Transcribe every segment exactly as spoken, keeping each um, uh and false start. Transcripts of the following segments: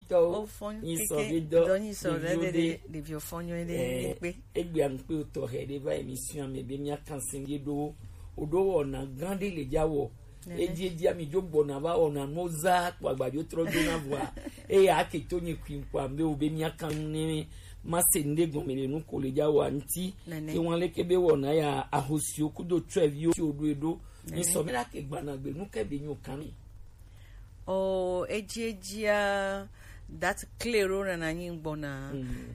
Tɔwo, nyisɔ be dɔ, ɖeviwo ɖe, ɖeviwo fɔ nyuie ɖe, eh, egbe. Egbe aŋkpe tɔxɛ ɖe va émission me be mía kan sɛn ye ɖo, o ɖo wɔna gã ɖe le dza wɔ. Eji eji ami dzo gbɔna va wɔna no za kpɔ agbadzo trɔ do na vɔa. Eya ake to nye kui kpɔ ambe o be mía kan ne ma se nde gɔme le nu ko le dza wɔ anti. Ke wan le ke be wɔna ya ahosiwo kudo tsɔeviwo ti o ɖo eɖo. Nyisɔ me la ke gbana gbe nu ke be nyo kan mi. O, eji ejia, date clé ɖo nana nyi gbɔna.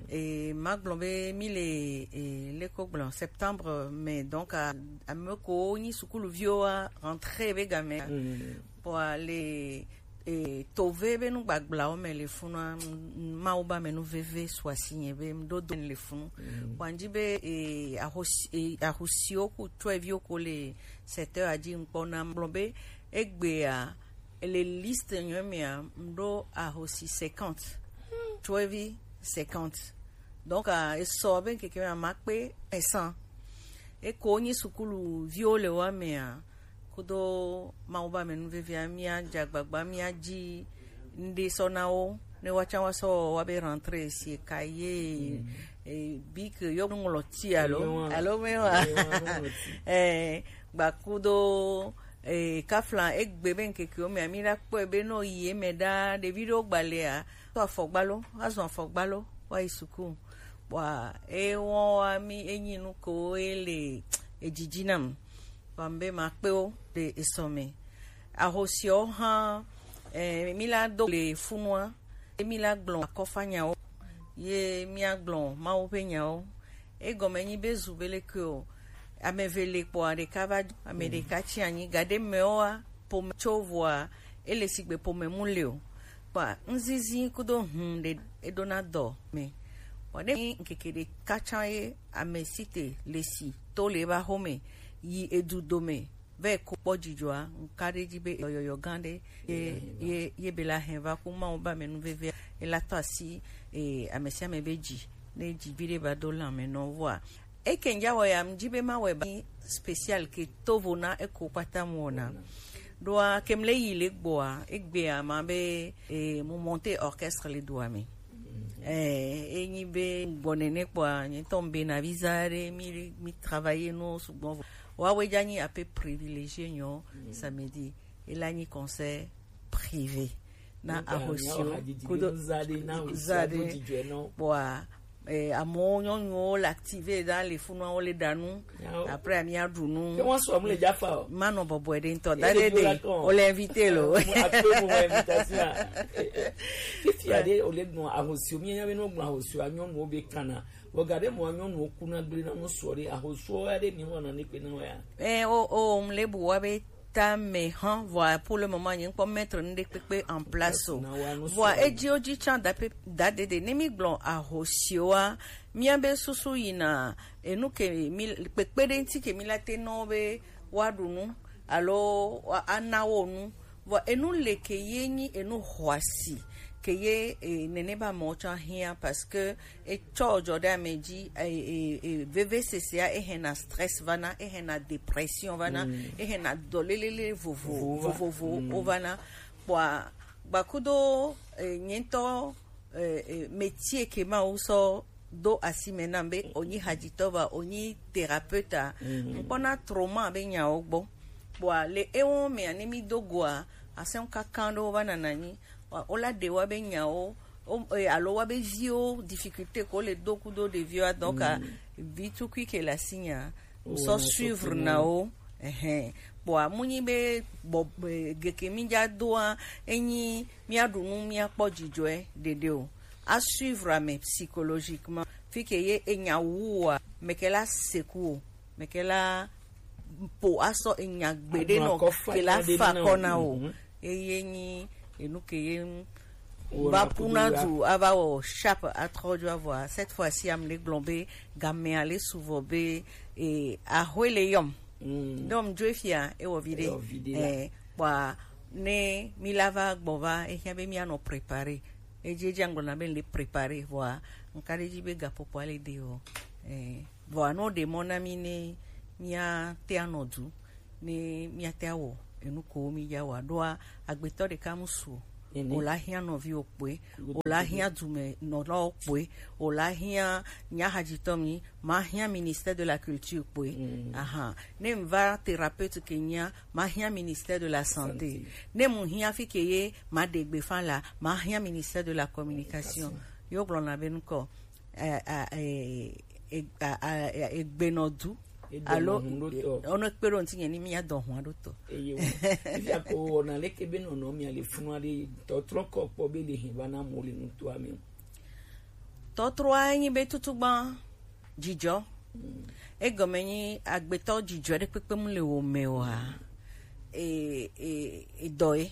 E, ma gblɔ be mi le, e, leko gblɔ septembre, mais donc a, ame ko nyi sukuluviwo a rentrée be game. Bon, le, e, tove be nu gbagblãwo me le funua, Mawu ba me nu veve su asi nye be ɖo do le funu. Bon, dzi be, e, ahosi, e, ahosiwo ku tsɔeviwo ko le sept heures adzi ŋkpɔ na gblɔ be egbea, le liste nyɔ mea, m ɖo ahosi cinquante. Tsɔevi cinquante. Donc, ah, esɔ be ŋkeke mea, ma kpe esan. Eko nyi sukulu viwo le wa mea, kudo Mawu ba me nu vevia, mía dze agbagba, mía dzi ŋɖe sɔ na wo, ne wa tsã wa sɔ wa be rentrée si ka ye, e, bic, yo ŋlɔti alo, alo me wa. Eh, gbakudo, eh, kafla egbe be ŋkekewo mea, mi la kpɔe be no yi eme ɖaa, ɖevi ɖewo gbalea, to afɔgba lo, azɔ afɔgba lo, wa yi suku. Bua, e wɔn wa mi enyi nu ko e le edzidzi nam. Bua, mbe ma kpe wo le esɔ me. Ahosiawo hã, eh, mi la do le funua, ye mi la gblɔ akɔfa nyawo, ye mi agblɔ Mawu ƒe nyawo. Egɔme nyi be zu be leke o, ame eve le kpɔa, ɖeka va, ame ɖeka tsi anyi, gaɖe mewoa, ƒome tso vɔa, ele sigbe ƒome mu le o. Kpɔa, ŋzizi kudo hum ɖe eɖona dɔ me. Vɔ ne nyi ŋkeke ɖeka tsã ye ame si te le si to le eba xome yi edu dome vɛ ko kpɔ dzidzɔa, ŋka ɖe dzi be yɔyɔyɔ gã ɖe ye, ye, ye be la hɛn va ku Mawu ba me nu vevia, ela tɔ asi, e, ame sia ame be dzi, ne dzi vi ɖe va do lãme nɔ vɔa. Eke ŋdza wɔ ya, ŋdzi be ma wɛ ba spécial ke tovo na eko kpata mu wɔna. Ɖoa, ke mle yi le gbɔa, egbea ma be, e, mu monter orchestre le dua me. Eh, enyi be gbɔ nene kpɔa, nye tɔ be na visa ɖe, mi, mi travailler no sugbɔ. Wa we dza nyi ape privilégié nyɔ, samedi. Ela nyi concert privé. Na ahosio kudo za ɖe na ahosio za ɖe. Kpɔa, eh, amewo nyɔnuwo le active ɖa le funua wo le ɖa nu. Après, ami aɖu nu. Ke wọn sɔ mu le dzafa o. Manɔ bɔbɔe ɖe ŋutɔ. Dade de, o le invité lo. Akpe mo mo invitation. Fifia ɖe o le gbɔn ahosio, mi nya be no gbɔn ahosio, anyɔnuwo be kana. Vɔ gaɖe mo anyɔnuwo kuna gble na mo sɔ ɖe ahosio ya ɖe mi wɔna ne kpe na wa ya. Eh, o, o, m le bu wa be ta me hã, vɔa pour le moment nye ŋkpɔ mettre nu ɖe kpekpe en place o. Vɔa edzi o dzi tsã da pe, da dede. Ne mi gblɔ ahosioa, mía be susu yina enu ke mi kpekpe ɖe ŋuti ke mi la te nɔ be woaɖu nu alo woa-, ana wo nu. Vɔ enu le ke ye nyi enu xɔasi ke ye, e, nene ba mɔ tsã hiã parce que etsɔ dzɔ ɖe ame dzi, e, e, e, vevesesea ehena stress vana, ehena dépression vana, ehena dɔlélélé vovo, vovovowo vana. Kpɔa, gbakudo, e, nye ŋutɔ, e, e, métier ke Mawu sɔ do asi me nam be wònyi hadzitɔ va, wònyi thérapeute a, ŋkpɔna trauma be nyawo gbɔ. Kpɔa, le ewo mea, ne mi do goa, asɛn kankan ɖewo va nana nyi. Wa-, wola ɖe wa be nyawo, o, e, alo wa be viwo, difficulté ko le do kudo ɖeviwo, donc, a, vi tukui ke le asi nya, sɔ suivre na wo. Ɛhɛn. Kpɔa, mu nyi be bɔ, e, geke mi dza doa, enyi mía ɖu nu, mía kpɔ dzidzɔe ɖeɖe o. A suivre ame psychologiquement. Fi ke ye enya wua, meke la seku o. Meke la po asɔ enya gbeɖe nɔ ke la fa kɔ na o. Eye nyi enu ke ye ŋu va ƒuna du ava wɔ sharp atrɔ dzo avɔa. Cette fois-ci, am le gblɔ be gamea le suvɔ be, e, ahoe le yɔm. Donc, dzo fia, ewɔ vi ɖe. Eh, kpɔa, ne mi la va gbɔ va, ehia be mía nɔ préparer. Edzi, edzi agblɔ na be le préparer, vɔa, ŋka ɖe dzi be gakpokpoa le de o. Eh, vɔa, no ɖe mɔ na mi ne míate anɔ du, ne míate awɔ enu ko mi dza wɔa, ɖoa, agbetɔ ɖeka mu su o. Nene. O la hiã nɔviwo kpoe, o la hiã dumɛnɔlawo kpoe, o la hiã nyahadzitɔ mi, ma hiã ministère de la culture kpoe. Mm. Ahan. Ne m va thérapeute ke nyia, ma hiã ministère de la santé. Santé. Ne mu hiã fi ke ye, ma ɖe gbe fa la, ma hiã ministère de la communication. Communication. Yo gblɔna be nukɔ, eh, eh, eh, eh, ah, ah, eh, egbenɔdu. Alo, ono kpe ɖo ŋuti nye ni mía dɔ hua ɖo tɔ. Eye wo. Fifia ko wɔna leke be nɔnɔ mia le funu aɖe tɔtrɔ kɔ kpɔ be le hɛn va na mo le nutoa me. Tɔtrɔa nyi be tutugba dzidzɔ. Mm. Egɔme nyi agbetɔ dzidzɔ ɖe kpekpe mu le wo me oa. E, e, e dɔ ye.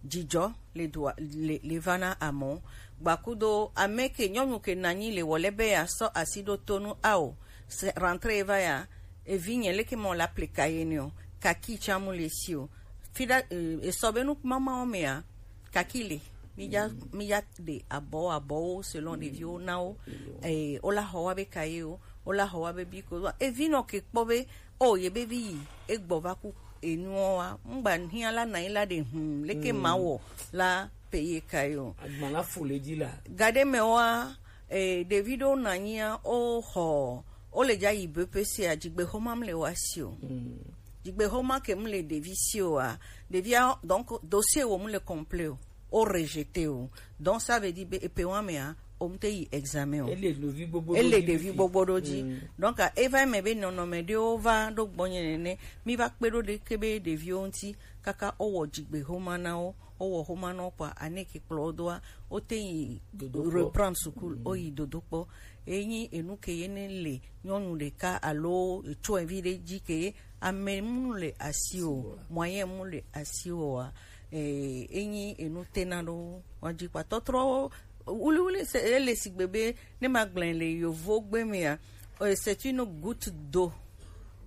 Dzidzɔ le dua, le, le va na amewo. Gbakudo ame ke nyɔnu ke nɔ anyi le wɔ lɛ be yeasɔ asi ɖo to nu ao. Se rentrée va ya, evi nye leke mɔ la ple kaye ne o. Kaki tsa mu le si o. Fi ɖa, eh, esɔ be nu mamawo mea, kaki le. Mi ya, mi ya ɖe abɔ, abɔwo selon ɖeviwo na wo. Eh, wo la xɔ wa be kaye o, wo la xɔ wa be bi ko. Evi nɔ ke kpɔ be, o, ye be vi yi, egbɔ va ku enuɔ wa. Ŋgba hiã la na yi la ɖe hum, leke ma wɔ la pe ye kaye o. Agba la fo le dzi la. Gaɖe me wa, eh, ɖevi ɖewo nɔ anyia, o xɔ, o le dza yi B P C a, dzigbexɔma mu le wa si o. Mm. Dzigbexɔma ke mu le ɖevi si o a, ɖevia, donc, dossier wo mu le complet o, o rejeté o. Donc, ça veut dire be, epe wa mea, o mu te yi examen o. Ele ɖevi gbogbo ɖo dzi. Ele ɖevi gbogbo ɖo dzi. Mm. Donc, a, eva me be nɔnɔme ɖewo va ɖo gbɔnye nene, mi va kpe ɖo ɖe ke be ɖeviwo ŋuti, kaka o wɔ dzigbexɔma na wo, o wɔ xɔma na wo kpɔ, ane ke kplɔ wo doa, o te yi reprendre sukulu, o yi dodo kpɔ. Enyi enu ke ye ne le nyɔnu ɖeka alo etsɔ evi ɖe dzi ke ame mu le asi o, moyen mu le asi o a, eh, enyi enu tena ɖo wa dzi kpa tɔtrɔ wuliwuli se ele sigbe be ne ma gblẽ le yovo gbe mea, eh, c'est une goutte d'eau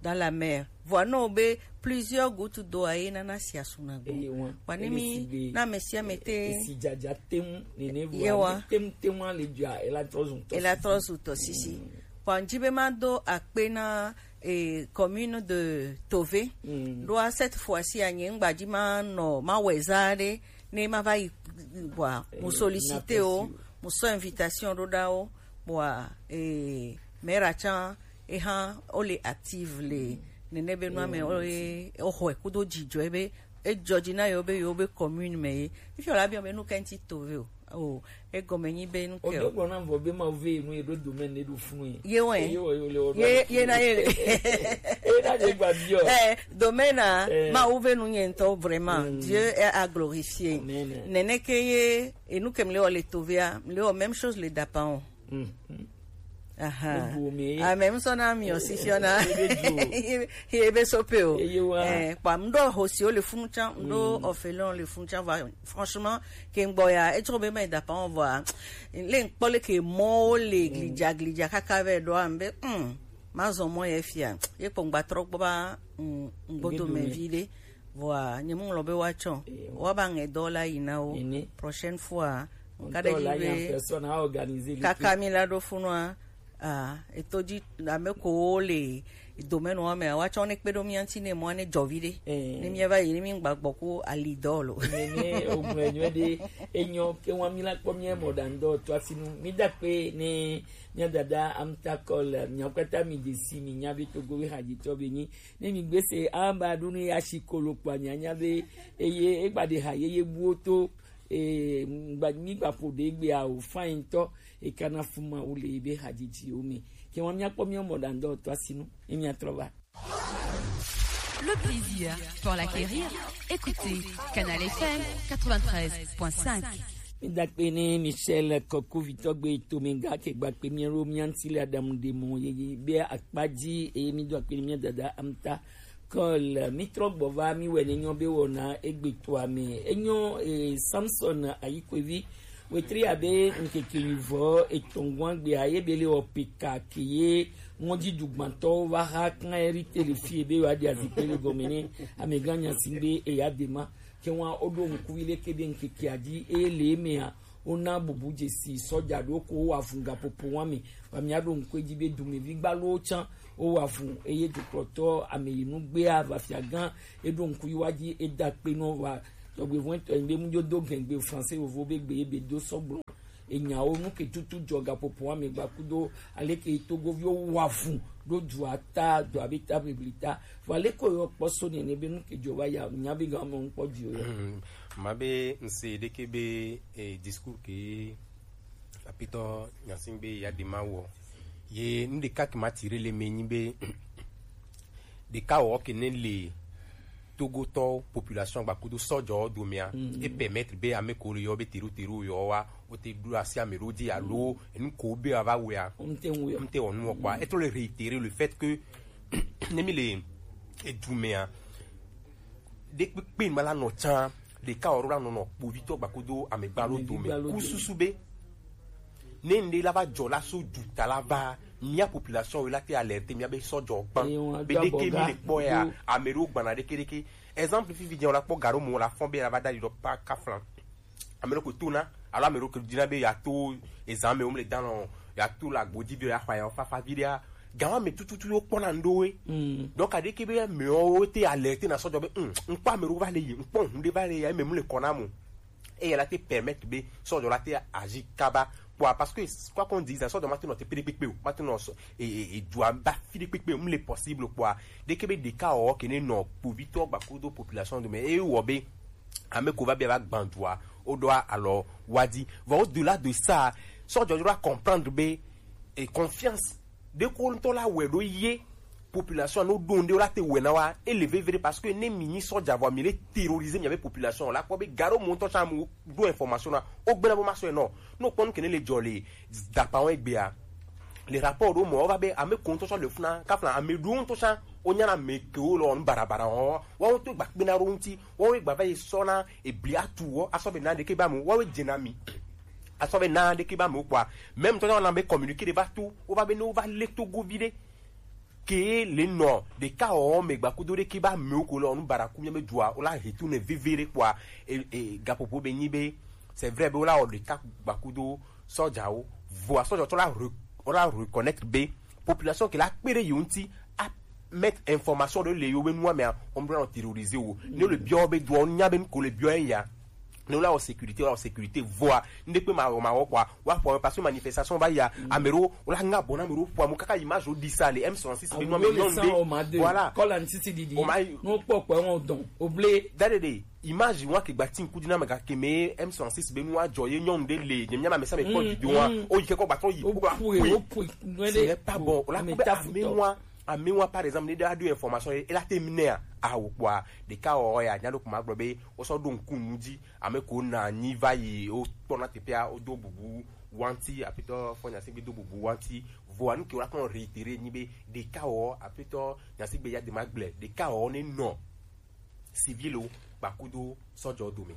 dans la mer. Vɔa nɔ be plusieurs gouttes d'eau a ye nana si asu na gbɔ. Eye wa. Kpa ne mi na ame sia ame te. Esi dzadza tem nene vɔa. Yewa. Tem tem wa le dzia ela trɔ zu tɔ. Ela trɔ zu tɔ sisi. Mm. Kpa ŋdi be ma do akpe na, eh, commune de Tové. Mm. Ɖoa cette fois-ci a nye ŋgba dzi ma nɔ ma wɛ za ɖe ne ma va yi vɔa. Eh, mu sollicité o, mu sɔ invitation ɖo ɖa o. Kpɔa, eh, mera tsã, eha, wole active le nene be nua me, wole, woxɔe kudo dzidzɔe be, edzɔ dzi na yewo be, yewo be commune me ye. Fifi wòle abiɔ be, nu ka ŋuti Tové o? O, egɔme nyi be nu ke o. Wòɖo gblɔ nam vɔ be Mawu ve nu ye ɖo domaine ne ɖo funu ye. Ye wɛ. Ye wɛ, ye wɛ, ye wɛ. Ye, ye na ye. Ye na ye gba biɔ. Eh, domaine a, eh, Mawu ve nu nye ŋutɔ, vraiment. Mm. Dieu est à glorifier. Amen. Nene ke ye, enu ke mle wɔ le Tové a, mle wɔ même chose le Dapan o. Mm, mm. Aha. Ebo me. Ah, même son ami aussi, si on a. Ebe jo. Ebe sope o. Eye wa. Eh, kpa, mɖo hosi o le funu tsã, mɖo orphelin o le funu tsã, va, franchement, ke ŋgbɔ ya, etsɔ be ma da pa on va. Le ŋkpɔ le ke mɔ o le glidza, glidza kaka vɛ ɖo ambe, mm, ma zɔ mɔ ye fia. Ye kpɔ ŋgba trɔ gbɔ ba, mm, ŋgbodo me vi ɖe. Vɔa, nye mu ŋlɔ be woatsɔ. Eyo. Woaba ŋɛ dɔ la yi na wo. Nene. Prochaine fois, ŋka ɖe dzi be kaka mi la ɖo funua, ah, eto dzi ame ko wo le domaine wa mea, woatsɔ ne kpe ɖo mía ŋuti ne mɔa ne dzɔ vi ɖe. Eh. Ne mía va yi, ne mí ŋgba gbɔ ko ali dɔ lo. Nene, o gblɔe nyuie ɖe, enyo ke wa mi la kpɔ mía mɔ ɖa ŋdɔ to asinu. Mi da kpe ne mía dada Amta Cole, mía kpata mi de si mi nya be Togo we hadzi tɔ be nyi. Ne mi gbe se amba ɖo ne ya si kolo kpɔ anya nya be eye egba ɖe ha yeye buwo to, eh, ŋgba, mi gba ƒo ɖe egbea o, fine tɔ, e kana fuma wo le ebe hadzidziwo me. Ke wa mía kpɔ mía mɔ ɖa ŋdɔ to asinu, ne mía trɔ va. Le plaisir pour l'acquérir, écoutez Canal F M quatre-vingt-treize point cinq. Mi da kpe ne Michel Kɔkuvitɔ gbe to mi ga ke gba kpe mi ro mi anti le Adam de mo ye be akpa dzi e mi do akpe ne mi dada Amta Cole. Mi trɔ gbɔ va mi wɛ ne nyɔ be wɔna egbe to ame. Enyo, eh, Samson Ayikwevi. Wetri abe ŋkeke nyuivɔ etɔ̃ gbe a ye be le wɔ peka ke ye ŋɔdzi dugbãtɔwo va ha kan eri te le fie be yewoaɖi azikpe le gɔme ne amegã Nyasingbe Eyadema. Ke wa woɖo ŋku vi leke be ŋkekea dzi eye le emea wona bubu dzesi sɔja ɖewo ko wowa vu gaƒoƒo wa me. Wa míaɖo ŋku edzi be dumevi gbalowo tsã wowa vu eye dukplɔtɔ ameyinu gbea va fiagã eɖo ŋku yi wa dzi eda kpe nɔ wa Tɔgbe vɔn tɔ ŋgbe mu jo do gɛngbe français vovo be gbe be do sɔgblɔ. Enyawo nu ke tutu jɔ gaƒoƒo ame gba kudo ale ke togoviwo wa vu ɖo dua ta dua be ta bibli ta. Vɔ ale ko yɔ kpɔ so nene be nu ke jɔ va ya nya be ga me ŋkpɔ dzi o ya. Hmm, ma be ŋse ɖeke be, eh, discours ke apitɔ nyasin be ya de ma wɔ. Ye nu ɖeka ke ma tire le me nyi be ɖeka wɔ ke ne le Togotɔ population gba kudo sɔjɔ domea, mm, e permettre be ame ko le yɔ be teru teru yɔ wa, o te ɖo asi ame ɖo dzi alo enu ko be ava wea, o mte ŋu yɔ. Mte wɔ nu kpɔa. E trɔ le réitérer le fait que ne mi le edu mea, ɖekpekpe ma la nɔ tsã, ɖeka wɔ la nɔ nɔ kpovitɔ gba kudo amegba lo dome. Amegba lo dome. Ku susu be ne ŋɖe la va jɔ la so duta la va, mia population la te alerte mia be sɔjɔ gban. Be ɖeke mi le kpɔ ya, ame ɖewo gbana ɖeke ɖeke. Exemple, fifi dze la kpɔ garo mo la fɔn be la va da ɖi ɖɔ pa kaflan. Ame ɖewo ko to na, alo ame ɖewo ko dina be ya to ezan me wo mle dan lɔ, ya to la gbodzi be ya xɔ ya fafa vi ɖea. Gawa me tututu yo kpɔna ŋɖewo ye. Mm. Donc, aɖeke be amewo te alerte na sɔjɔ be, mm, ŋkpɔ ame ɖewo va le yi, ŋkpɔ ŋu ɖe va le ya, eme mu le kɔ na mo. Eye la te permettre be sɔjɔ la te agir kaba kpɔa, parce que quoi qu'on dise, sɔjɔ ma te nɔ te pe ɖe kpekpe o, ma te nɔ sɔ e e e dua ba fi ɖe kpekpe o, mu le possible kpɔa. Ɖeke be ɖeka wɔ ke ne nɔ kpovitɔ gba kudo population dome, e wɔ be ame ko va be va gban dua, o ɖo alɔ wa di. Vɔ au-delà de ça, sɔjɔ doit comprendre be e confiance ɖe ko ŋutɔ la wɛ ɖo ye population no ɖo ŋɖe la te wɛ na wa, e le vevere parce que ne mi nyi sɔja vɔ mi le terroriser mi abe population la kpɔ be garo mo ŋutɔ tsã mo ɖo information na o gbena bo ma sɔ enɔ. No kpɔ nu ke ne le jɔ le dapa wo egbea, le rapport ɖo mɔ wo va be ame ko ŋutɔ tsã le funa kafla ame ɖo ŋutɔ tsã wo nyana ame ke wo lɔ nu barabara wo wo ŋutɔ gba kpena ɖo ŋuti wo gba va yi sɔ na ebli atu wo asɔ be na ɖeke ba mo wo dze na mi. Asɔ be na ɖeke ba mo kpɔa, même tɔ na be communiqué ɖe va to wo va be ne wo va le togo vi ɖe ke le nɔ ɖeka wɔ me gbakudo ɖeke ba me ko le ɔnu baraku mi be dua wo la he tu ne veve ɖe kpɔa. E, e, gaƒoƒo be nyi be c'est vrai be wo la wɔ ɖeka gbakudo sɔjawo, voa sɔjatɔ la re-, wo la reconnaître be population ke la kpe ɖe yewo ŋuti a mettre information ɖe le yewo be nua mea, wo mɖo na terroriser wo. Ne le biɔ be dua wo nya be nu ko le biɔ eya. Ne wo la wɔ sécurité, wo la wɔ sécurité, voa ŋɖe kpe ma wɔ ma wɔ kpɔa, wa ƒo parce que manifestation va ya, ame ɖewo wo la ŋa bɔ na ame ɖewo ƒo amu kaka image wo ɖi sa le M soixante-six be nua me nyɔnu ɖe. Voilà. Kɔla ŋtiti ɖiɖi. O ma yi. No kpɔ kpɔ ŋɔ dɔn. O ble. Da ɖe ɖe. Image wa ke gba ti ŋku di na me ga ke me M soixante-six be nua jɔ ye nyɔnu ɖe le. Nye mia ma me sa me kpɔ vidéo wa. O yi ke kɔ gba tɔ yi. O kpɔ la pue. O pue. Ce n'est pas bon. O la kpɔ be ame wa. Ame wa, par exemple, ne ɖe aɖo information ye, ela te mi nea, awo kpɔa, ɖeka wɔ ya, nya ɖo kuma gblɔ be, wo sɔ ɖo ŋku nu dzi, ame ko na nyi va yi, wo kpɔna teƒea, wo do bubu wanti, apitɔ fɔ nya se gbe do bubu wanti, voa nu ke wo la kpɔ réitérer nyi be, ɖeka wɔ, apitɔ nya se gbe ya de ma gblɛ, ɖeka wɔ ne nɔ, civil wo, kpakudo sɔjɔ dome.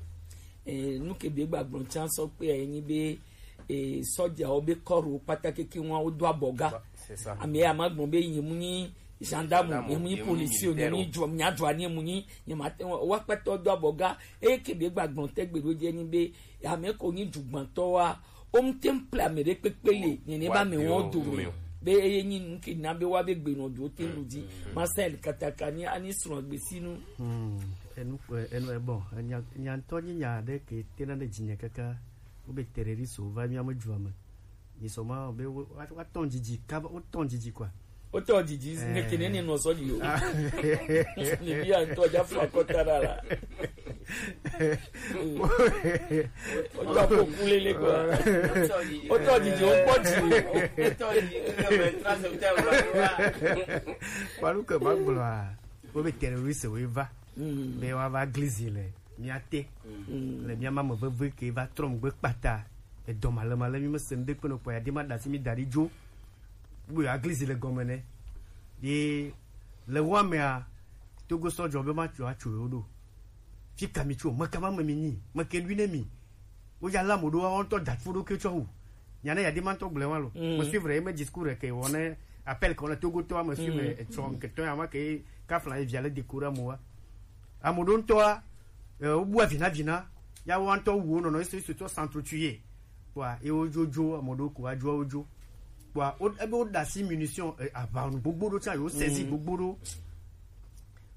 Eh, nu ke be gba gblɔ tsan sɔ kpe ya nyi be, eh, sɔjawo be kɔɖo kpata keke ŋua wo do abɔga. C'est ça. Ame ya ma gblɔ be nye mu nyi gendarme, gendarme, nye mu nyi policier, nye mu nyi dro-, nya dro ani mu nyi, nye ma te wa kpata do abɔga. Eye ke be gba gblɔ te gbe ɖo dze nyi be ame ko nyi dugbantɔ wa, wo ŋte ŋ ple ame ɖe kpekpe le, nye ne ba me wɔn dome. Be eye nyi nu ke na be wa be gbe nɔ do te ɖu dzi. Marcel Kataka ni ani srɔ̃ agbesinu. Hmm, enu, eh, enu, eh, bon, eh, nya, nya ŋutɔ nyi nya ɖe ke tena ɖe dzinye kaka. Wobe terroriste wova mía me dua me. Nyisɔ ma be wo, wa, wa tɔn dzidzi, kaba, wo tɔn dzidzi quoi. Wo tɔn dzidzi, eh, ne kene ne nɔ sɔ di o. Ah. Ne bi a ŋutɔ dza fla kɔta ɖa la. Wo tɔn ko kulele quoi. Wo tɔn dzidzi, wo kpɔ dzi. Kpalu ke ma gblɔa, wobe terroriste wova. Mm. Be woava glizi le mía te. Mm. Le mía ma me veve ke va trɔ megbe kpata. Edɔ ma le ma le mí me se ŋɖe kpe nɔ kpɔ ya de ma ɖasi mí da ɖi dzo. Be yewoa glizi le gɔme nɛ. Ye le wa mea, Togo sɔ dzɔ be ma tso atso yewo ɖo. Fi ka mi tso, me ka ma me mi nyi, me ke lui ne mi. Wo ya la mo ɖo, wo ŋutɔ da fo ɖo ke tsɔ wu. Nya ne ya de ma ŋutɔ gblẽ wa lo. Mm. Me suivre ye me discours ke wɔ ne appel ke wɔ ne Togo tɔ, me suivre, mm, etsɔ ke tɔ ya ma ke kafla ye via le décorer mo wa. Ame ɖewo ŋutɔa, eh, wobua vina vina, ya wo ŋutɔ wu wo nɔnɔ, ese, ese tɔ s'entretuer. Kpɔa, ye wo dzo dzo, ame ɖewo ko wa dzo wo dzo. Kpɔa, wo, ebe wo ɖe asi munition, eh, aʋa nu gbogbo ɖo tsã, ye wo saisi, mm, gbogbo ɖo.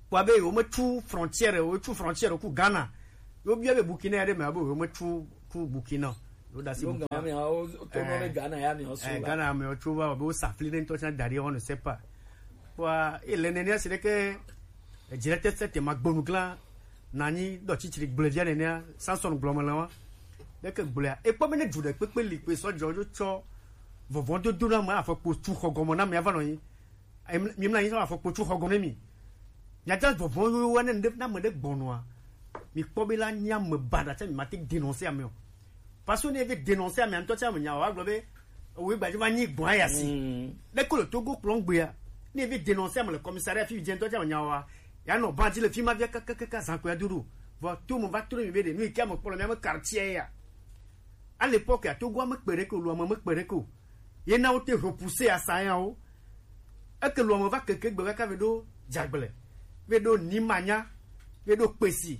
Kpɔa be ye wo me tu frontière, wo tu frontière ku Ghana. Wobia be Burkina ya ɖe me abe wome tsu ku Burkina. Wo da si Burkina. Ghana me o to no be Ghana ya me o so. Eh, Ghana me o tsu va be wo sa fli ne ntɔ tsa da ɖi, on ne sait pas. Kwa ele nenia si ɖeke edzile tete te ma gbonu gla nanyi dɔ tsitsiri gblevia nenia Samson gblɔ me le wa. Ɖeke gblɔa ekpɔ be ne dzu ɖe kpekpe li kpe sɔ dzɔ dzo tsɔ vɔvɔ dodo na me afɔ kpo tsu xɔ gɔme na me ava nɔ nyi. Em, mi mla nyi sɔ afɔ kpo tsu xɔ gɔme mi. Miata vɔvɔ yo wa ne ne na me ɖe gbɔnɔa. Mi kpɔ be la nya me ba da tsa mi ma te dénoncer ame o. Parce que ne ve dénoncer ame ntɔ tsa me nya wa gblɔ be owe gbaji ma nyi gbɔn ya si. Mm. Ɖe ko le Togo kplɔ gbea. Ne ve dénoncer ame le commissariat fi dze ntɔ tsa me nya wa. Ya nɔ ban dzi le fi ma via kakakaka zan ko ya dodo. Vɔ to mo va to mi be de nu ke ame kpɔ le mi ame quartier ya. À l'époque, ya Togo ame kpe ɖe ko, lo ame me kpe ɖe ko. Ye na wo te repousser asayawo. Eke lo ame va keke gbe kaka ve ɖo dzagble, ve ɖo nimanya, ve ɖo kpesi,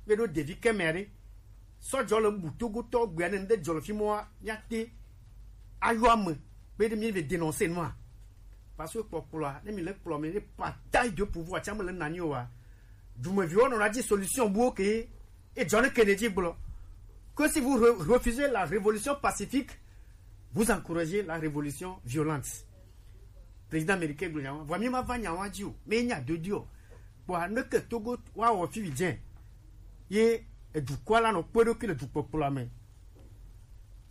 ve ɖo devi kɛmɛ ɖe. Sɔdzɔ le bu Togo tɔ gbea ne ŋde dzɔ le fi mɔa, mia te ayɔ ame be mi ve dénoncer nua. Parce que kpɔkplɔa, ne mi le kplɔ me, ne partage de pouvoir, tsa me le nanyi wa. Dumeviwo nɔ na dzi solution buwo ke. Et John Kennedy gblɔ que si vous re- refusez la révolution pacifique, vous encouragez la révolution violente. Président américain gblɔ nya wa. Vɔ mi ma va nya wa dzi o, mi nya do di o. Kpɔa ne ke Togo wa wɔ fi dze ye edukɔa la nɔ kpe ɖo ki le dukpɔkplɔa me.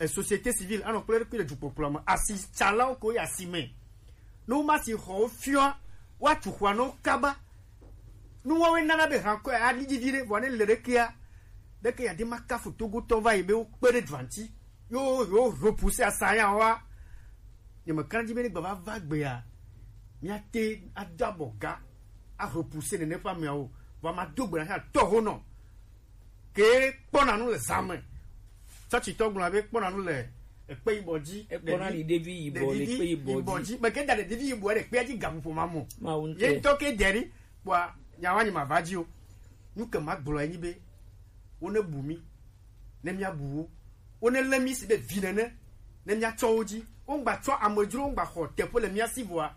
E société civile anɔ kpe ɖo ki le dukpɔkplɔa me. Asitsalawo ko yi asi me. Ne woma si xɔwo fiɔa, woatu xɔa na wo kaba. Nuwoawoe nana be hankɔe aɖi dzi viɖe, vɔ ne le ɖekea, ɖeke yeade ma kafu Togotɔ va yi be wokpe ɖe dua ŋuti. Yo, yo repousser asayawoa. Nyemekana dzi be ne gbava va gbea, míate ado abɔ ga arepousser nene ƒe ameawo. Vɔ mado gbe na tɔho nɔ. Ke kpɔna nu le zã me. Tsɔtsitɔ gblɔna be kpɔna nu le ekpe yibɔ dzi. Ekpɔna ɖevi- ɖevi yibɔ le ɖevi ekpe yibɔ yibɔ dzi. Dzi. Meke da ɖevi yibɔ ɖe ekpea dzi gaƒoƒo ma mo. Mawu ŋutɔ. Ye ŋutɔ ke dɛ ɖi, kpɔa, nyawa nyi ma va dzi o. Nu ke ma gblɔ enyi be, wo ne bu mi, ne mia bu wo. Wo ne lé mi si be vi nene, ne mia tsɔ wo dzi. Wo ŋgba tsɔ amedzro, wo ŋgba xɔ teƒe le mia si vɔa,